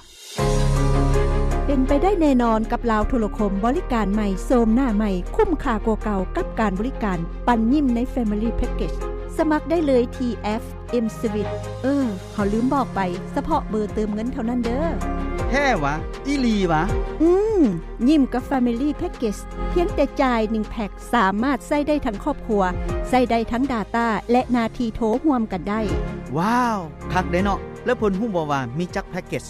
ເປັນໄປໄດ້ແນ່ນອນກັບລາວໂທລະຄົມ ບໍລິການໃໝ່ ໂສມໜ້າໃໝ່ ຄຸ້ມຄ່າກວ່າເກົ່າກັບການບໍລິການ ປັນຍິ້ມໃນ Family Package. ສະໝັກໄດ້ເລີຍທີ່ ແອັບ M-Swiss. ເອີ ເຮົາລືມບອກໄປ, ສະເພາະເບີເຕີມເງິນເທົ່ານັ້ນເດີ້. ແທ້ຫວາ? ອີ່ຫຼີຫວາ? ອືມ, ຍິ້ມກັບ Family Package ພຽງແຕ່ຈ່າຍໜຶ່ງແພັກ ສາມາດໃຊ້ໄດ້ທັງຄອບຄົວ, ໃຊ້ໄດ້ທັງ Data ແລະ ໜ້າທີ່ໂທຮ່ວມກັນໄດ້. ວ້າວ, ຄັກເດ້ເນາະ. ແລ້ວເພິ່ນຮູ້ບໍ່ວ່າມີຈັກແພັກເກັດ?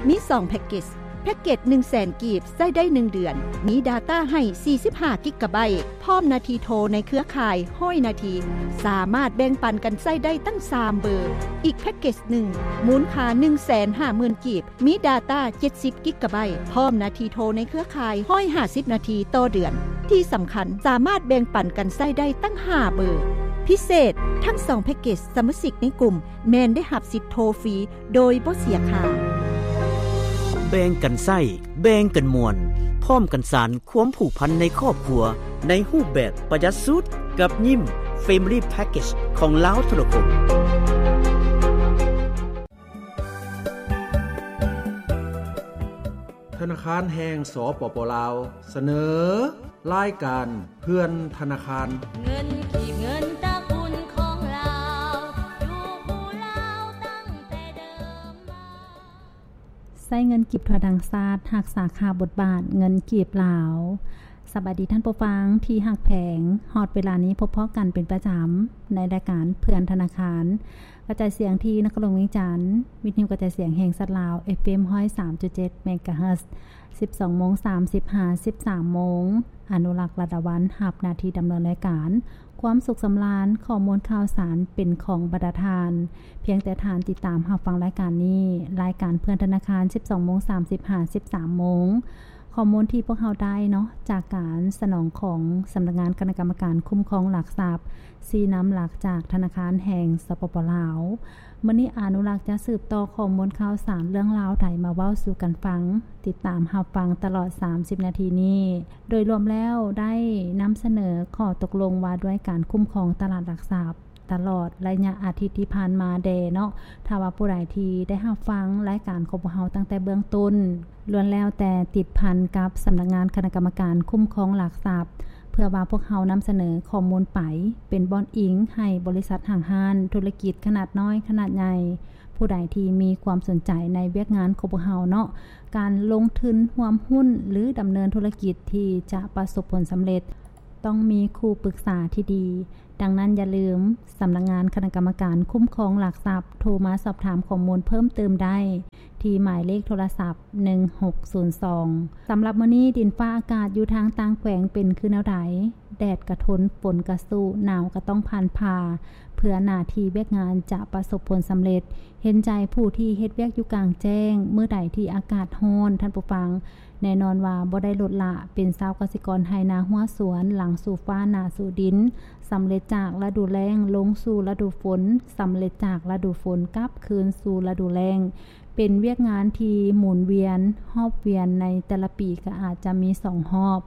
ມີສອງແພັກເກັດ. ແພັກເກັດໜຶ່ງແສນກີບ ໃຊ້ໄດ້ໜຶ່ງເດືອນ, ມີ Data ໃຫ້ສີ່ສິບຫ້າກິກະໄບ, ພ້ອມໜ້າທີ່ໂທໃນເຄືອຂ່າຍຮ້ອຍນາທີ, ສາມາດແບ່ງປັນກັນໃຊ້ໄດ້ຕັ້ງສາມເບີ. ອີກແພັກເກັດໜຶ່ງ ມູນຄ່າໜຶ່ງແສນຫ້າໝື່ນກີບ, ມີ Data ເຈັດສິບກິກະໄບ, ພ້ອມໜ້າທີ່ໂທໃນເຄືອຂ່າຍຮ້ອຍຫ້າສິບນາທີຕໍ່ເດືອນ. ທີ່ສຳຄັນ, ສາມາດແບ່ງປັນກັນໃຊ້ໄດ້ຕັ້ງຫ້າເບີ. ພິເສດ, ທັງສອງແພັກເກັດສະມາຊິກໃນກຸ່ມ ແມ່ນໄດ້ຮັບສິດໂທຟຣີໂດຍບໍ່ເສຍຄ່າ. ແບ່ງກັນໃຊ້, ແບ່ງກັນມ່ວນ, ພ້ອມກັນສານຄວາມຜູກພັນໃນຄອບຄົວ ໃນຮູບແບບປະຢັດສຸດ ກັບຍິ້ມ Family Package ຂອງລາວໂທລະຄົມ. ທະນາຄານແຫ່ງ ສປປ ລາວ ສະເໜີ ລາຍການເພື່ອນທະນາຄານ. ເງິນກີບ ເງິນຕະກຸນຂອງລາວ ຢູ່ຄູ່ລາວຕັ້ງແຕ່ເດີມມາ. ໃຊ້ເງິນກີບທົ່ວທັງຊາດ ຮັກສາຄ່າບົດບາດເງິນກີບລາວ. ສະບາຍດີທ່ານຜູ້ຟັງທີ່ຮັກແພງ, ຮອດເວລານີ້ພົບພໍ້ກັນເປັນປະຈຳໃນລາຍການເພື່ອນທະນາຄານ ກະຈາຍສຽງທີ່ນະຄອນຫຼວງວຽງຈັນ, ວິທະຍຸກະຈາຍສຽງແຫ່ງຊາດລາວ ເອຟເອັມ ຮ້ອຍສາມຈຸດເຈັດ ເມກາເຮີດ, ສິບສອງໂມງສາມສິບ ຫາ ສິບສາມໂມງ. ອະນຸລັກ ລັດດາວັນ ຮັບໜ້າທີ່ດຳເນີນລາຍການ. ຄວາມສຸກສຳລານ, ຂໍ້ມູນຂ່າວສານເປັນຂອງບັນດາທ່ານ. ພຽງແຕ່ທ່ານຕິດຕາມຮັບຟັງລາຍການນີ້, ລາຍການເພື່ອນທະນາຄານ ສິບສອງໂມງສາມສິບ ຫາ ສິບສາມໂມງ. ຂໍ້ມູນທີ່ພວກເຮົາໄດ້ເນາະ ຈາກການສະໜອງຂອງສຳນັກງານຄະນະກຳມະການຄຸ້ມຄອງຫຼັກຊັບ, ຊີ້ນຳຫຼັກຈາກທະນາຄານແຫ່ງ ສປປ ລາວ. ມື້ນີ້ອະນຸລັກຈະສືບຕໍ່ຂໍ້ມູນຂ່າວສານເລື່ອງລາວໃດມາເວົ້າສູ່ກັນຟັງ. ຕິດຕາມຮັບຟັງຕະຫຼອດສາມສິບນາທີນີ້. ໂດຍລວມແລ້ວໄດ້ນຳສະເໜີຂໍ້ຕົກລົງວ່າດ້ວຍການຄຸ້ມຄອງຕະຫຼາດຫຼັກຊັບ ຕະຫຼອດໄລຍະອາທິດທີ່ຜ່ານມາແດ່ເນາະ. ຖ້າວ່າຜູ້ໃດທີ່ໄດ້ຮັບຟັງລາຍການຂອງພວກເຮົາຕັ້ງແຕ່ເບື້ອງຕົ້ນ, ລ້ວນແລ້ວແຕ່ຕິດພັນກັບສຳນັກງານຄະນະກຳມະການຄຸ້ມຄອງຫຼັກຊັບ, ເພື່ອວ່າພວກເຮົານຳສະເໜີຂໍ້ມູນໄປເປັນບ່ອນອີງໃຫ້ບໍລິສັດ, ຫ້າງຮ້ານ, ທຸລະກິດຂະໜາດນ້ອຍ, ຂະໜາດໃຫຍ່, ຜູ້ໃດທີ່ມີຄວາມສົນໃຈໃນວຽກງານຂອງພວກເຮົາເນາະ, ການລົງທຶນຮ່ວມຫຸ້ນ ຫຼື ດຳເນີນທຸລະກິດທີ່ຈະປະສົບຜົນສຳເລັດ ຕ້ອງມີຄູ່ປຶກສາທີ່ດີ. ດັ່ງນັ້ນຢ່າລືມ, ສຳນັກງານຄະນະກຳມະການຄຸ້ມຄອງຫຼັກຊັບ ໂທມາສອບຖາມຂໍ້ມູນເພີ່ມເຕີມໄດ້ ທີ່ໝາຍເລກໂທລະສັບ ໜຶ່ງຫົກສູນສອງ. ສຳລັບມື້ນີ້ ດິນຟ້າອາກາດຢູ່ທາງຕ່າງແຂວງເປັນຄືແນວໃດ? ແດດກະທົນ, ຝົນກະສູ້, ໜາວກະຕ້ອງຜ່ານຜ່າ ເພື່ອໜ້າທີ່ວຽກງານຈະປະສົບຜົນສຳເລັດ. ເຫັນໃຈຜູ້ທີ່ເຮັດວຽກຢູ່ກາງແຈ້ງ, ມື້ໃດທີ່ອາກາດຮ້ອນ, ທ່ານຜູ້ຟັງ, ແນ່ນອນວ່າບໍ່ໄດ້ລົດລະ, ເປັນຊາວກະສິກອນໄຮ່ນາຮົ້ວສວນ, ຫຼັງສູ່ຟ້າໜ້າສູ່ດິນ, ສຳເລັດຈາກລະດູແລ້ງລົງສູ່ລະດູຝົນ, ສຳເລັດຈາກລະດູຝົນກັບຄືນສູ່ລະດູແລ້ງ, ເປັນວຽກງານທີ່ໝູນວຽນ, ຮອບວຽນໃນແຕ່ລະປີກໍອາດຈະມີສອງຮອບ.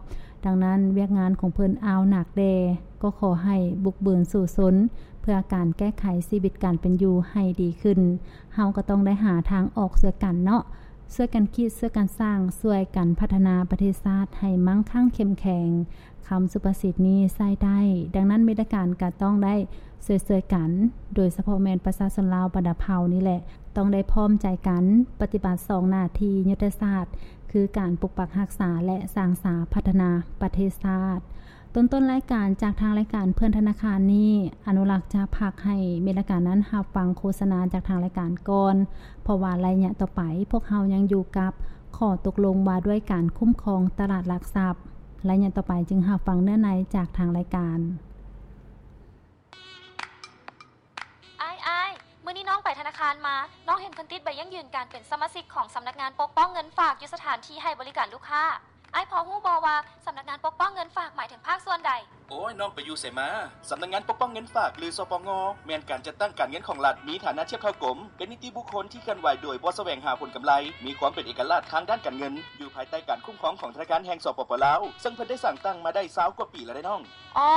ດັ່ງນັ້ນ, ວຽກງານຂອງເພິ່ນອ່າວໜັກແດ່, ກໍຂໍໃຫ້ບຸກບືນສູ້ຊົນ ເພື່ອການແກ້ໄຂຊີວິດການເປັນຢູ່ໃຫ້ດີຂຶ້ນ. ເຮົາກໍຕ້ອງໄດ້ຫາທາງອອກຊ່ວຍກັນເນາະ. ຊ່ວຍກັນຄິດ, ຊ່ວຍກັນສ້າງ, ຊ່ວຍກັນພັດທະນາປະເທດຊາດໃຫ້ມັ່ງຄັ່ງເຂັ້ມແຂງ. ຄຳສຸພາສິດນີ້ໃຊ້ໄດ້, ດັ່ງນັ້ນ ມິດຕະການກໍຕ້ອງໄດ້ຊ່ວຍໆກັນ, ໂດຍສະເພາະແມ່ນປະຊາຊົນລາວບັນດາເຜົ່ານີ້ແຫຼະ, ຕ້ອງໄດ້ພ້ອມໃຈກັນປະຕິບັດສອງໜ້າທີ່ຍຸດທະສາດ, ຄືການປົກປັກຮັກສາ ແລະ ສ້າງສາພັດທະນາປະເທດຊາດ. ຕົ້ນໆລາຍການຈາກທາງລາຍການເພື່ອນທະນາຄານນີ້, ອະນຸລັກຈະພັກໃຫ້ມິດຕະການນັ້ນຮັບຟັງໂຄສະນາຈາກທາງລາຍການກ່ອນ, ເພາະວ່າໄລຍະຕໍ່ໄປພວກເຮົາຍັງຢູ່ກັບຂໍ້ຕົກລົງວ່າດ້ວຍການຄຸ້ມຄອງຕະຫຼາດຫຼັກຊັບ. ໄລຍະຕໍ່ໄປຈຶ່ງຮັບຟັງເນື້ອໃນຈາກທາງລາຍການ. ອ້າຍ, ອ້າຍ, ມື້ນີ້ນ້ອງໄປທະນາຄານມາ, ນ້ອງເຫັນເພິ່ນຕິດໃບຢັ້ງຢືນການເປັນສະມາຊິກຂອງສຳນັກງານປົກປ້ອງເງິນຝາກຢູ່ສະຖານທີ່ໃຫ້ບໍລິການລູກຄ້າ. ອ້າຍພໍຮູ້ບໍ່ວ່າສຳນັກງານປົກປ້ອງເງິນຝາກໝາຍເຖິງພາກສ່ວນໃດ? ໂອ້ຍ, ນ້ອງໄປຢູ່ໃສມາ? ສຳນັກງານປົກປ້ອງເງິນຝາກ ຫຼື ສປງ ແມ່ນການຈັດຕັ້ງການເງິນຂອງລັດ, ມີຖານະທຽບເທົ່າກົມ, ເປັນນິຕິບຸກຄົນທີ່ເຄື່ອນໄຫວໂດຍບໍ່ສະແຫວງຫາຜົນກຳໄລ, ມີຄວາມເປັນເອກະລາດທາງດ້ານການເງິນ, ຢູ່ພາຍໃຕ້ການຄຸ້ມຄອງຂອງທະນາຄານແຫ່ງ ສປປ ລາວ, ເຊິ່ງເພິ່ນໄດ້ສ້າງຕັ້ງມາໄດ້ຊາວກວ່າປີແລ້ວເດ້ນ້ອງ. ອໍ,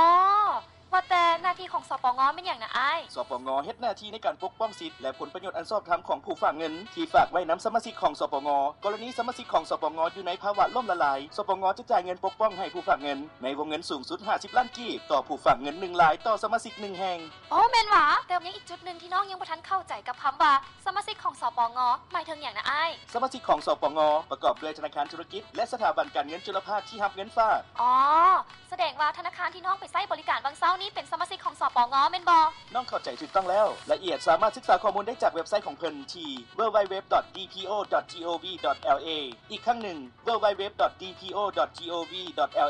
ວ່າແຕ່ໜ້າທີ່ຂອງ ສປງ ແມ່ນຫຍັງນະອ້າຍ? ສປງ ເຮັດໜ້າທີ່ໃນການປົກປ້ອງສິດ ແລະ ຜົນປະໂຫຍດອັນຊອບທຳຂອງຜູ້ຝາກເງິນທີ່ຝາກໄວ້ນຳສະມາຊິກຂອງ ສປງ. ກໍລະນີສະມາຊິກຂອງ ສປງ ຢູ່ໃນພາວະລົ້ມລະລາຍ, ສປງ ຈະຈ່າຍເງິນປົກປ້ອງໃຫ້ຜູ້ຝາກເງິນໃນວົງເງິນສູງສຸດຫ້າສິບລ້ານກີບຕໍ່ຜູ້ຝາກເງິນໜຶ່ງລາຍຕໍ່ສະມາຊິກໜຶ່ງແຫ່ງ. ໂອ້ ແມ່ນຫວາ? ແຕ່ຍັງອີກຈຸດໜຶ່ງທີ່ນ້ອງຍັງບໍ່ທັນເຂົ້າໃຈກັບຄຳວ່າ ສະມາຊິກຂອງ ສປງ ໝາຍເຖິງຫຍັງນະອ້າຍ? ສະມາຊິກຂອງ ສປງ ປະກອບດ້ວຍທະນາຄານທຸລະກິດ ແລະ ສະຖາບັນການເງິນຈຸລະພາກທີ່ຮັບເງິນຝາກ. ອໍ ສະແດງວ່າທະນາຄານທີ່ນ້ອງໄປໃຊ້ບໍລິການຫວ່າງເຊົ້ານີ້ເປັນສະມາຊິກຂອງ ສປງ ແມ່ນບໍ່? ນ້ອງເຂົ້າໃຈຖືກຕ້ອງແລ້ວ. ລາຍລະອຽດສາມາດສຶກສາຂໍ້ມູນໄດ້ຈາກເວັບໄຊຂອງເພິ່ນທີ່ www.dpo.gov.la ອີກຄັ້ງໜຶ່ງ www.dpo.gov.la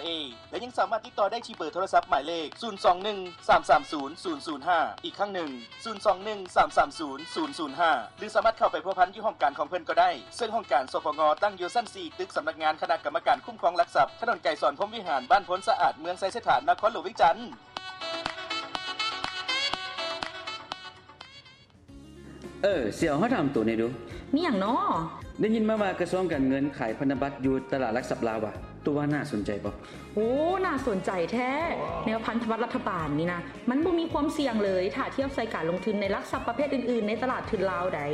ແລະ ຍັງສາມາດຕິດຕໍ່ໄດ້ທີ່ເບີໂທລະສັບໝາຍເລກ ສູນສອງໜຶ່ງ ສາມສາມສູນ ສູນສູນຫ້າ ອີກຄັ້ງໜຶ່ງ ສູນສອງໜຶ່ງ ສາມສາມສູນ ສູນສູນຫ້າ ຫຼື ສາມາດເຂົ້າໄປພົວພັນຢູ່ຫ້ອງການຂອງເພິ່ນກໍໄດ້, ເຊິ່ງຫ້ອງການ ສປງ ຕັ້ງຢູ່ຊັ້ນສີ່ ຕຶກສຳນັກງານຄະນະກຳມະການຄຸ້ມຄອງຫຼັກຊັບ, ຖະໜົນໄກສອນ ພົມວິຫານ, ບ້ານໂພນສະອາດ, ເມືອງໄຊເສດຖາ, ນະຄອນຫຼວງວຽງຈັນ. ເອີ ສຽວ ເຮົາຖາມໂຕແດ່ດູ. ມີຫຍັງນໍ? ໄດ້ຍິນມາວ່າກະຊວງການເງິນຂາຍພັນທະບັດຢູ່ຕະຫຼາດຫຼັກຊັບລາວຫວາ? ໂຕວ່າໜ້າສົນໃຈບໍ່? ໂອ້ ໜ້າສົນໃຈແທ້. ແນວພັນທະບັດລັດຖະບານນີ້ນະ ມັນບໍ່ມີຄວາມສ່ຽງເລີຍ ຖ້າທຽບໃສ່ການລົງທຶນໃນຫຼັກຊັບປະເພດອື່ນໆໃນຕະຫຼາດທຶນລາວໃດ໋.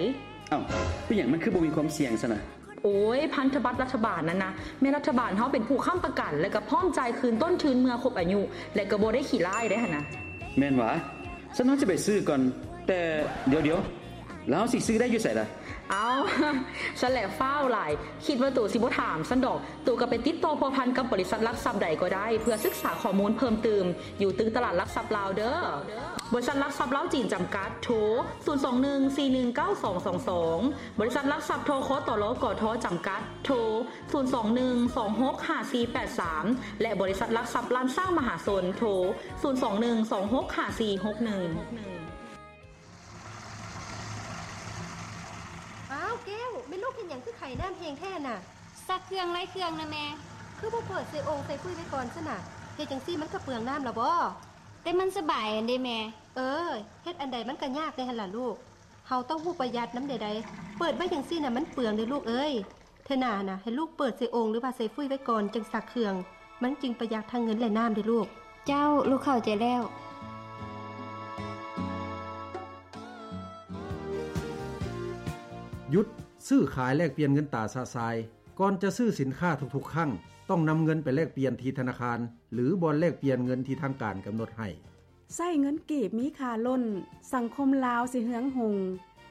ເອົ້າ ເປັນຫຍັງມັນຄືບໍ່ມີຄວາມສ່ຽງຊັ້ນນະ? ໂອ້ຍ ພັນທະບັດລັດຖະບານນັ້ນນະ ແມ່ນລັດຖະບານເຮົາເປັນຜູ້ຄ້ຳປະກັນ ແລະ ກໍພ້ອມຈ່າຍຄືນຕົ້ນທຶນເມື່ອຄົບອາຍຸ ແລະ ກໍບໍ່ໄດ້ຂີ້ລ້າຍເດ້ຫັ້ນນະ. ແມ່ນຫວາ? ຊັ້ນເຮົາຈະໄປຊື້ກ່ອນ. ແຕ່ ດຽວໆ ແລ້ວເຮົາຊິຊື້ໄດ້ຢູ່ໃສລະ? ເອົ້າ ຊັ້ນແຫຼະຟ້າວຫຼາຍ ຄິດວ່າໂຕຊິບໍ່ຖາມຊັ້ນດອກ. ໂຕກໍໄປຕິດຕໍ່ພົວພັນກັບບໍລິສັດຫຼັກຊັບໃດກໍໄດ້ ເພື່ອສຶກສາຂໍ້ມູນເພີ່ມຕື່ມ ຢູ່ຕຶກຕະຫຼາດຫຼັກຊັບລາວເດີ້. ບໍລິສັດຫຼັກຊັບລາວຈີນຈຳກັດ ໂທ ສູນສອງໜຶ່ງ ສີ່ໜຶ່ງເກົ້າສອງສອງສອງ ບໍລິສັດຫຼັກຊັບ ທຄຕລ ກທ ຈຳກັດ ໂທ ສູນສອງໜຶ່ງ ສອງຫົກຫ້າສີ່ແປດສາມ ແລະ ບໍລິສັດຫຼັກຊັບລ້ານຊ້າງມະຫາຊົນ ໂທ ສູນສອງໜຶ່ງ ສອງຫົກຫ້າສີ່ຫົກໜຶ່ງ. ອ້າວ ແກ້ວ ແມ່ລູກເຮັດຫຍັງຄືໄຂ້ນ້ຳແຮງແທ້ນະ? ຊັກເຄື່ອງຫຼາຍເຄື່ອງນະແມ່. ຄືບໍ່ເປີດໃສ່ໂອ່ງໃສ່ຟຸ້ຍໄວ້ກ່ອນຊັ້ນນະ? ເຮັດຈັ່ງຊີ້ມັນກໍເປືອງນ້ຳລະບໍ? ແຕ່ມັນສະບາຍຫັ້ນເດແມ່. ເອີ ເຮັດອັນໃດມັນກໍຍາກແດ່ຫັ້ນລະລູກ. ເຮົາຕ້ອງຮູ້ປະຢັດນຳເດໄດ໋. ເປີດໄວ້ຈັ່ງຊີ້ນະມັນເປືອງເດລູກເອີຍ. ເທື່ອໜ້ານະ ໃຫ້ລູກເປີດໃສ່ໂອ່ງ ຫຼືວ່າໃສ່ຟຸ້ຍໄວ້ກ່ອນ ຈຶ່ງຊັກເຄື່ອງ. ມັນຈຶ່ງປະຢັດທັງເງິນ ແລະ ນ້ຳເດລູກ. ເຈົ້າ ລູກເຂົ້າໃຈແລ້ວ. ຢຸດຊື້ຂາຍແລກປ່ຽນເງິນຕາຊະຊາຍ. ກ່ອນຈະຊື້ສິນຄ້າທຸກໆຄັ້ງ, ຕ້ອງນຳເງິນໄປແລກປ່ຽນທີ່ທະນາຄານ ຫຼື ບ່ອນແລກປ່ຽນເງິນທີ່ທາງການກຳນົດໃຫ້. ໃຊ້ເງິນກີບມີຄ່າລົ້ນ, ສັງຄົມລາວຊິເຮືອງຮຸ່ງ,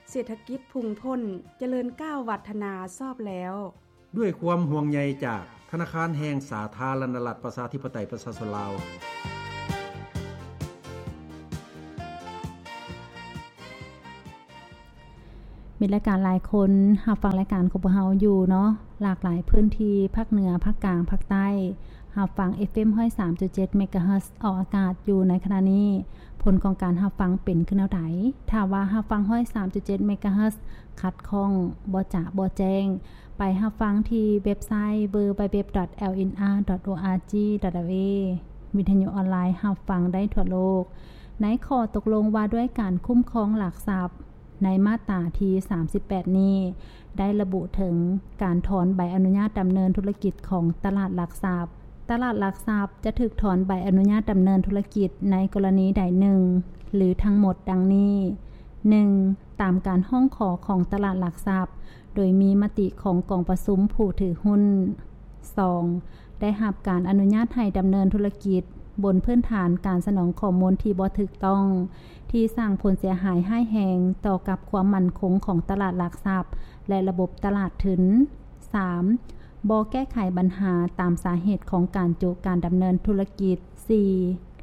ເສດຖະກິດພຸ່ງພົ້ນ, ຈະເລີນກ້າວວັດທະນາຊອບແລ້ວ. ດ້ວຍຄວາມຫ່ວງໃຍຈາກທະນາຄານແຫ່ງສາທາລະນະລັດ ປະຊາທິປະໄຕ ປະຊາຊົນລາວ. ມີລາຍການຫຼາຍຄົນຮັບຟັງລາຍການຂອງພວກເຮົາຢູ່ເນາະ, ຫຼາກຫຼາຍພື້ນທີ່ ພາກເໜືອ, ພາກກາງ, ພາກໃຕ້, ຮັບຟັງ ເອັຟເອັມ ຮ້ອຍສາມຈຸດເຈັດ ເມກາເຮີດ ອອກອາກາດຢູ່ໃນຂະນະນີ້. ຜົນຂອງການຮັບຟັງເປັນຄືແນວໃດ? ຖ້າວ່າຮັບຟັງ ຮ້ອຍສາມຈຸດເຈັດ ເມກາເຮີດ ຂັດຂ້ອງ, ບໍ່ຈະບໍ່ແຈ້ງ, ໄປຮັບຟັງທີ່ເວັບໄຊ ดับเบิลยู ดับเบิลยู ดับเบิลยู ດອດ แอลเอ็นอาร์ ดอท โออาร์จี ดอท แอลเอ ວິທະຍຸອອນລາຍຮັບຟັງໄດ້ທົ່ວໂລກ. ໃນຂໍ້ຕົກລົງວ່າດ້ວຍການຄຸ້ມຄອງຫຼັກຊັບ ໃນມາດຕາທີສາມສິບແປດນີ້ ໄດ້ລະບຸເຖິງການຖອນໃບອະນຸຍາດດຳເນີນທຸລະກິດຂອງຕະຫຼາດຫຼັກຊັບ. ຕະຫຼາດຫຼັກຊັບຈະຖືກຖອນໃບອະນຸຍາດດຳເນີນທຸລະກິດໃນກໍລະນີໃດໜຶ່ງ ຫຼື ທັງໝົດດັ່ງນີ້. ໜຶ່ງ, ຕາມການຮ້ອງຂໍຂອງຕະຫຼາດຫຼັກຊັບ ໂດຍມີມະຕິຂອງກອງປະຊຸມຜູ້ຖືຫຸ້ນ. ສອງ, ໄດ້ຮັບການອະນຸຍາດໃຫ້ດຳເນີນທຸລະກິດບົນພື້ນຖານການສະໜອງຂໍ້ມູນທີ່ບໍ່ຖືກຕ້ອງ, ທີ່ສ້າງຜົນເສຍຫາຍຮ້າຍແຮງຕໍ່ກັບຄວາມໝັ້ນຄົງຂອງຕະຫຼາດຫຼັກຊັບ ແລະ ລະບົບຕະຫຼາດທຶນ. ສາມ, ບໍ່ແກ້ໄຂບັນຫາຕາມສາເຫດຂອງການໂຈະການດຳເນີນທຸລະກິດ. ສີ່,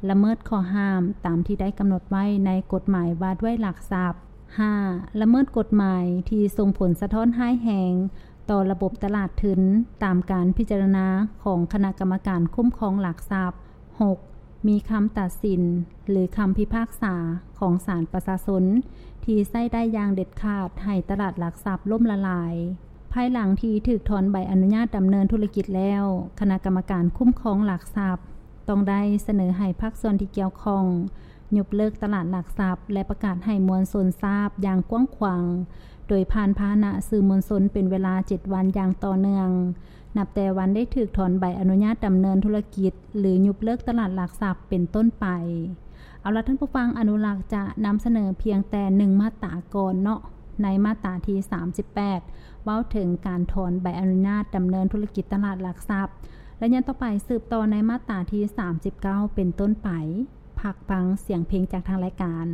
ລະເມີດຂໍ້ຫ້າມຕາມທີ່ໄດ້ກຳນົດໄວ້ໃນກົດໝາຍວ່າດ້ວຍຫຼັກຊັບ. ຫ້າ, ລະເມີດກົດໝາຍທີ່ສົ່ງຜົນສະທ້ອນຮ້າຍແຮງຕໍ່ລະບົບຕະຫຼາດທຶນ ຕາມການພິຈາລະນາຂອງຄະນະກຳມະການຄຸ້ມຄອງຫຼັກຊັບ. ຫົກ, ມີຄຳຕັດສິນ ຫຼື ຄຳພິພາກສາຂອງສານປະຊາຊົນ ທີ່ໃຊ້ໄດ້ຢ່າງເດັດຂາດໃຫ້ຕະຫຼາດຫຼັກຊັບລົ້ມລະລາຍ. ພາຍຫຼັງທີ່ຖືກຖອນໃບອະນຸຍາດດຳເນີນທຸລະກິດແລ້ວ, ຄະນະກຳມະການຄຸ້ມຄອງຫຼັກຊັບ ຕ້ອງໄດ້ສະເໜີໃຫ້ພາກສ່ວນທີ່ກ່ຽວຂ້ອງ ຍົກເລີກຕະຫຼາດຫຼັກຊັບ ແລະ ປະກາດໃຫ້ມວນຊົນຊາບຢ່າງກວ້າງຂວາງ, ໂດຍຜ່ານພາຫະນະສື່ມວນຊົນເປັນເວລາເຈັດວັນຢ່າງຕໍ່ເນື່ອງ. ນັບແຕ່ວັນໄດ້ຖືກຖອນໃບອະນຸຍາດດຳເນີນທຸລະກິດ ຫຼື ຍຸບເລີກຕະຫຼາດຫຼັກຊັບເປັນຕົ້ນໄປ. ເອົາລະທ່ານຜູ້ຟັງ, ອະນຸລັກຈະນຳສະເໜີພຽງແຕ່ໜຶ່ງມາດຕາກ່ອນເນາະ, ໃນມາດຕາທີສາມສິບແປດ ເວົ້າເຖິງການຖອນໃບອະນຸຍາດດຳເນີນທຸລະກິດຕະຫຼາດຫຼັກຊັບ ແລະ ຍ້ອນຕໍ່ໄປສືບຕໍ່ໃນມາດຕາທີສາມສິບເກົ້າເປັນຕົ້ນໄປ. ພັກຟັງສຽງເພງຈາກທາງລາຍການ.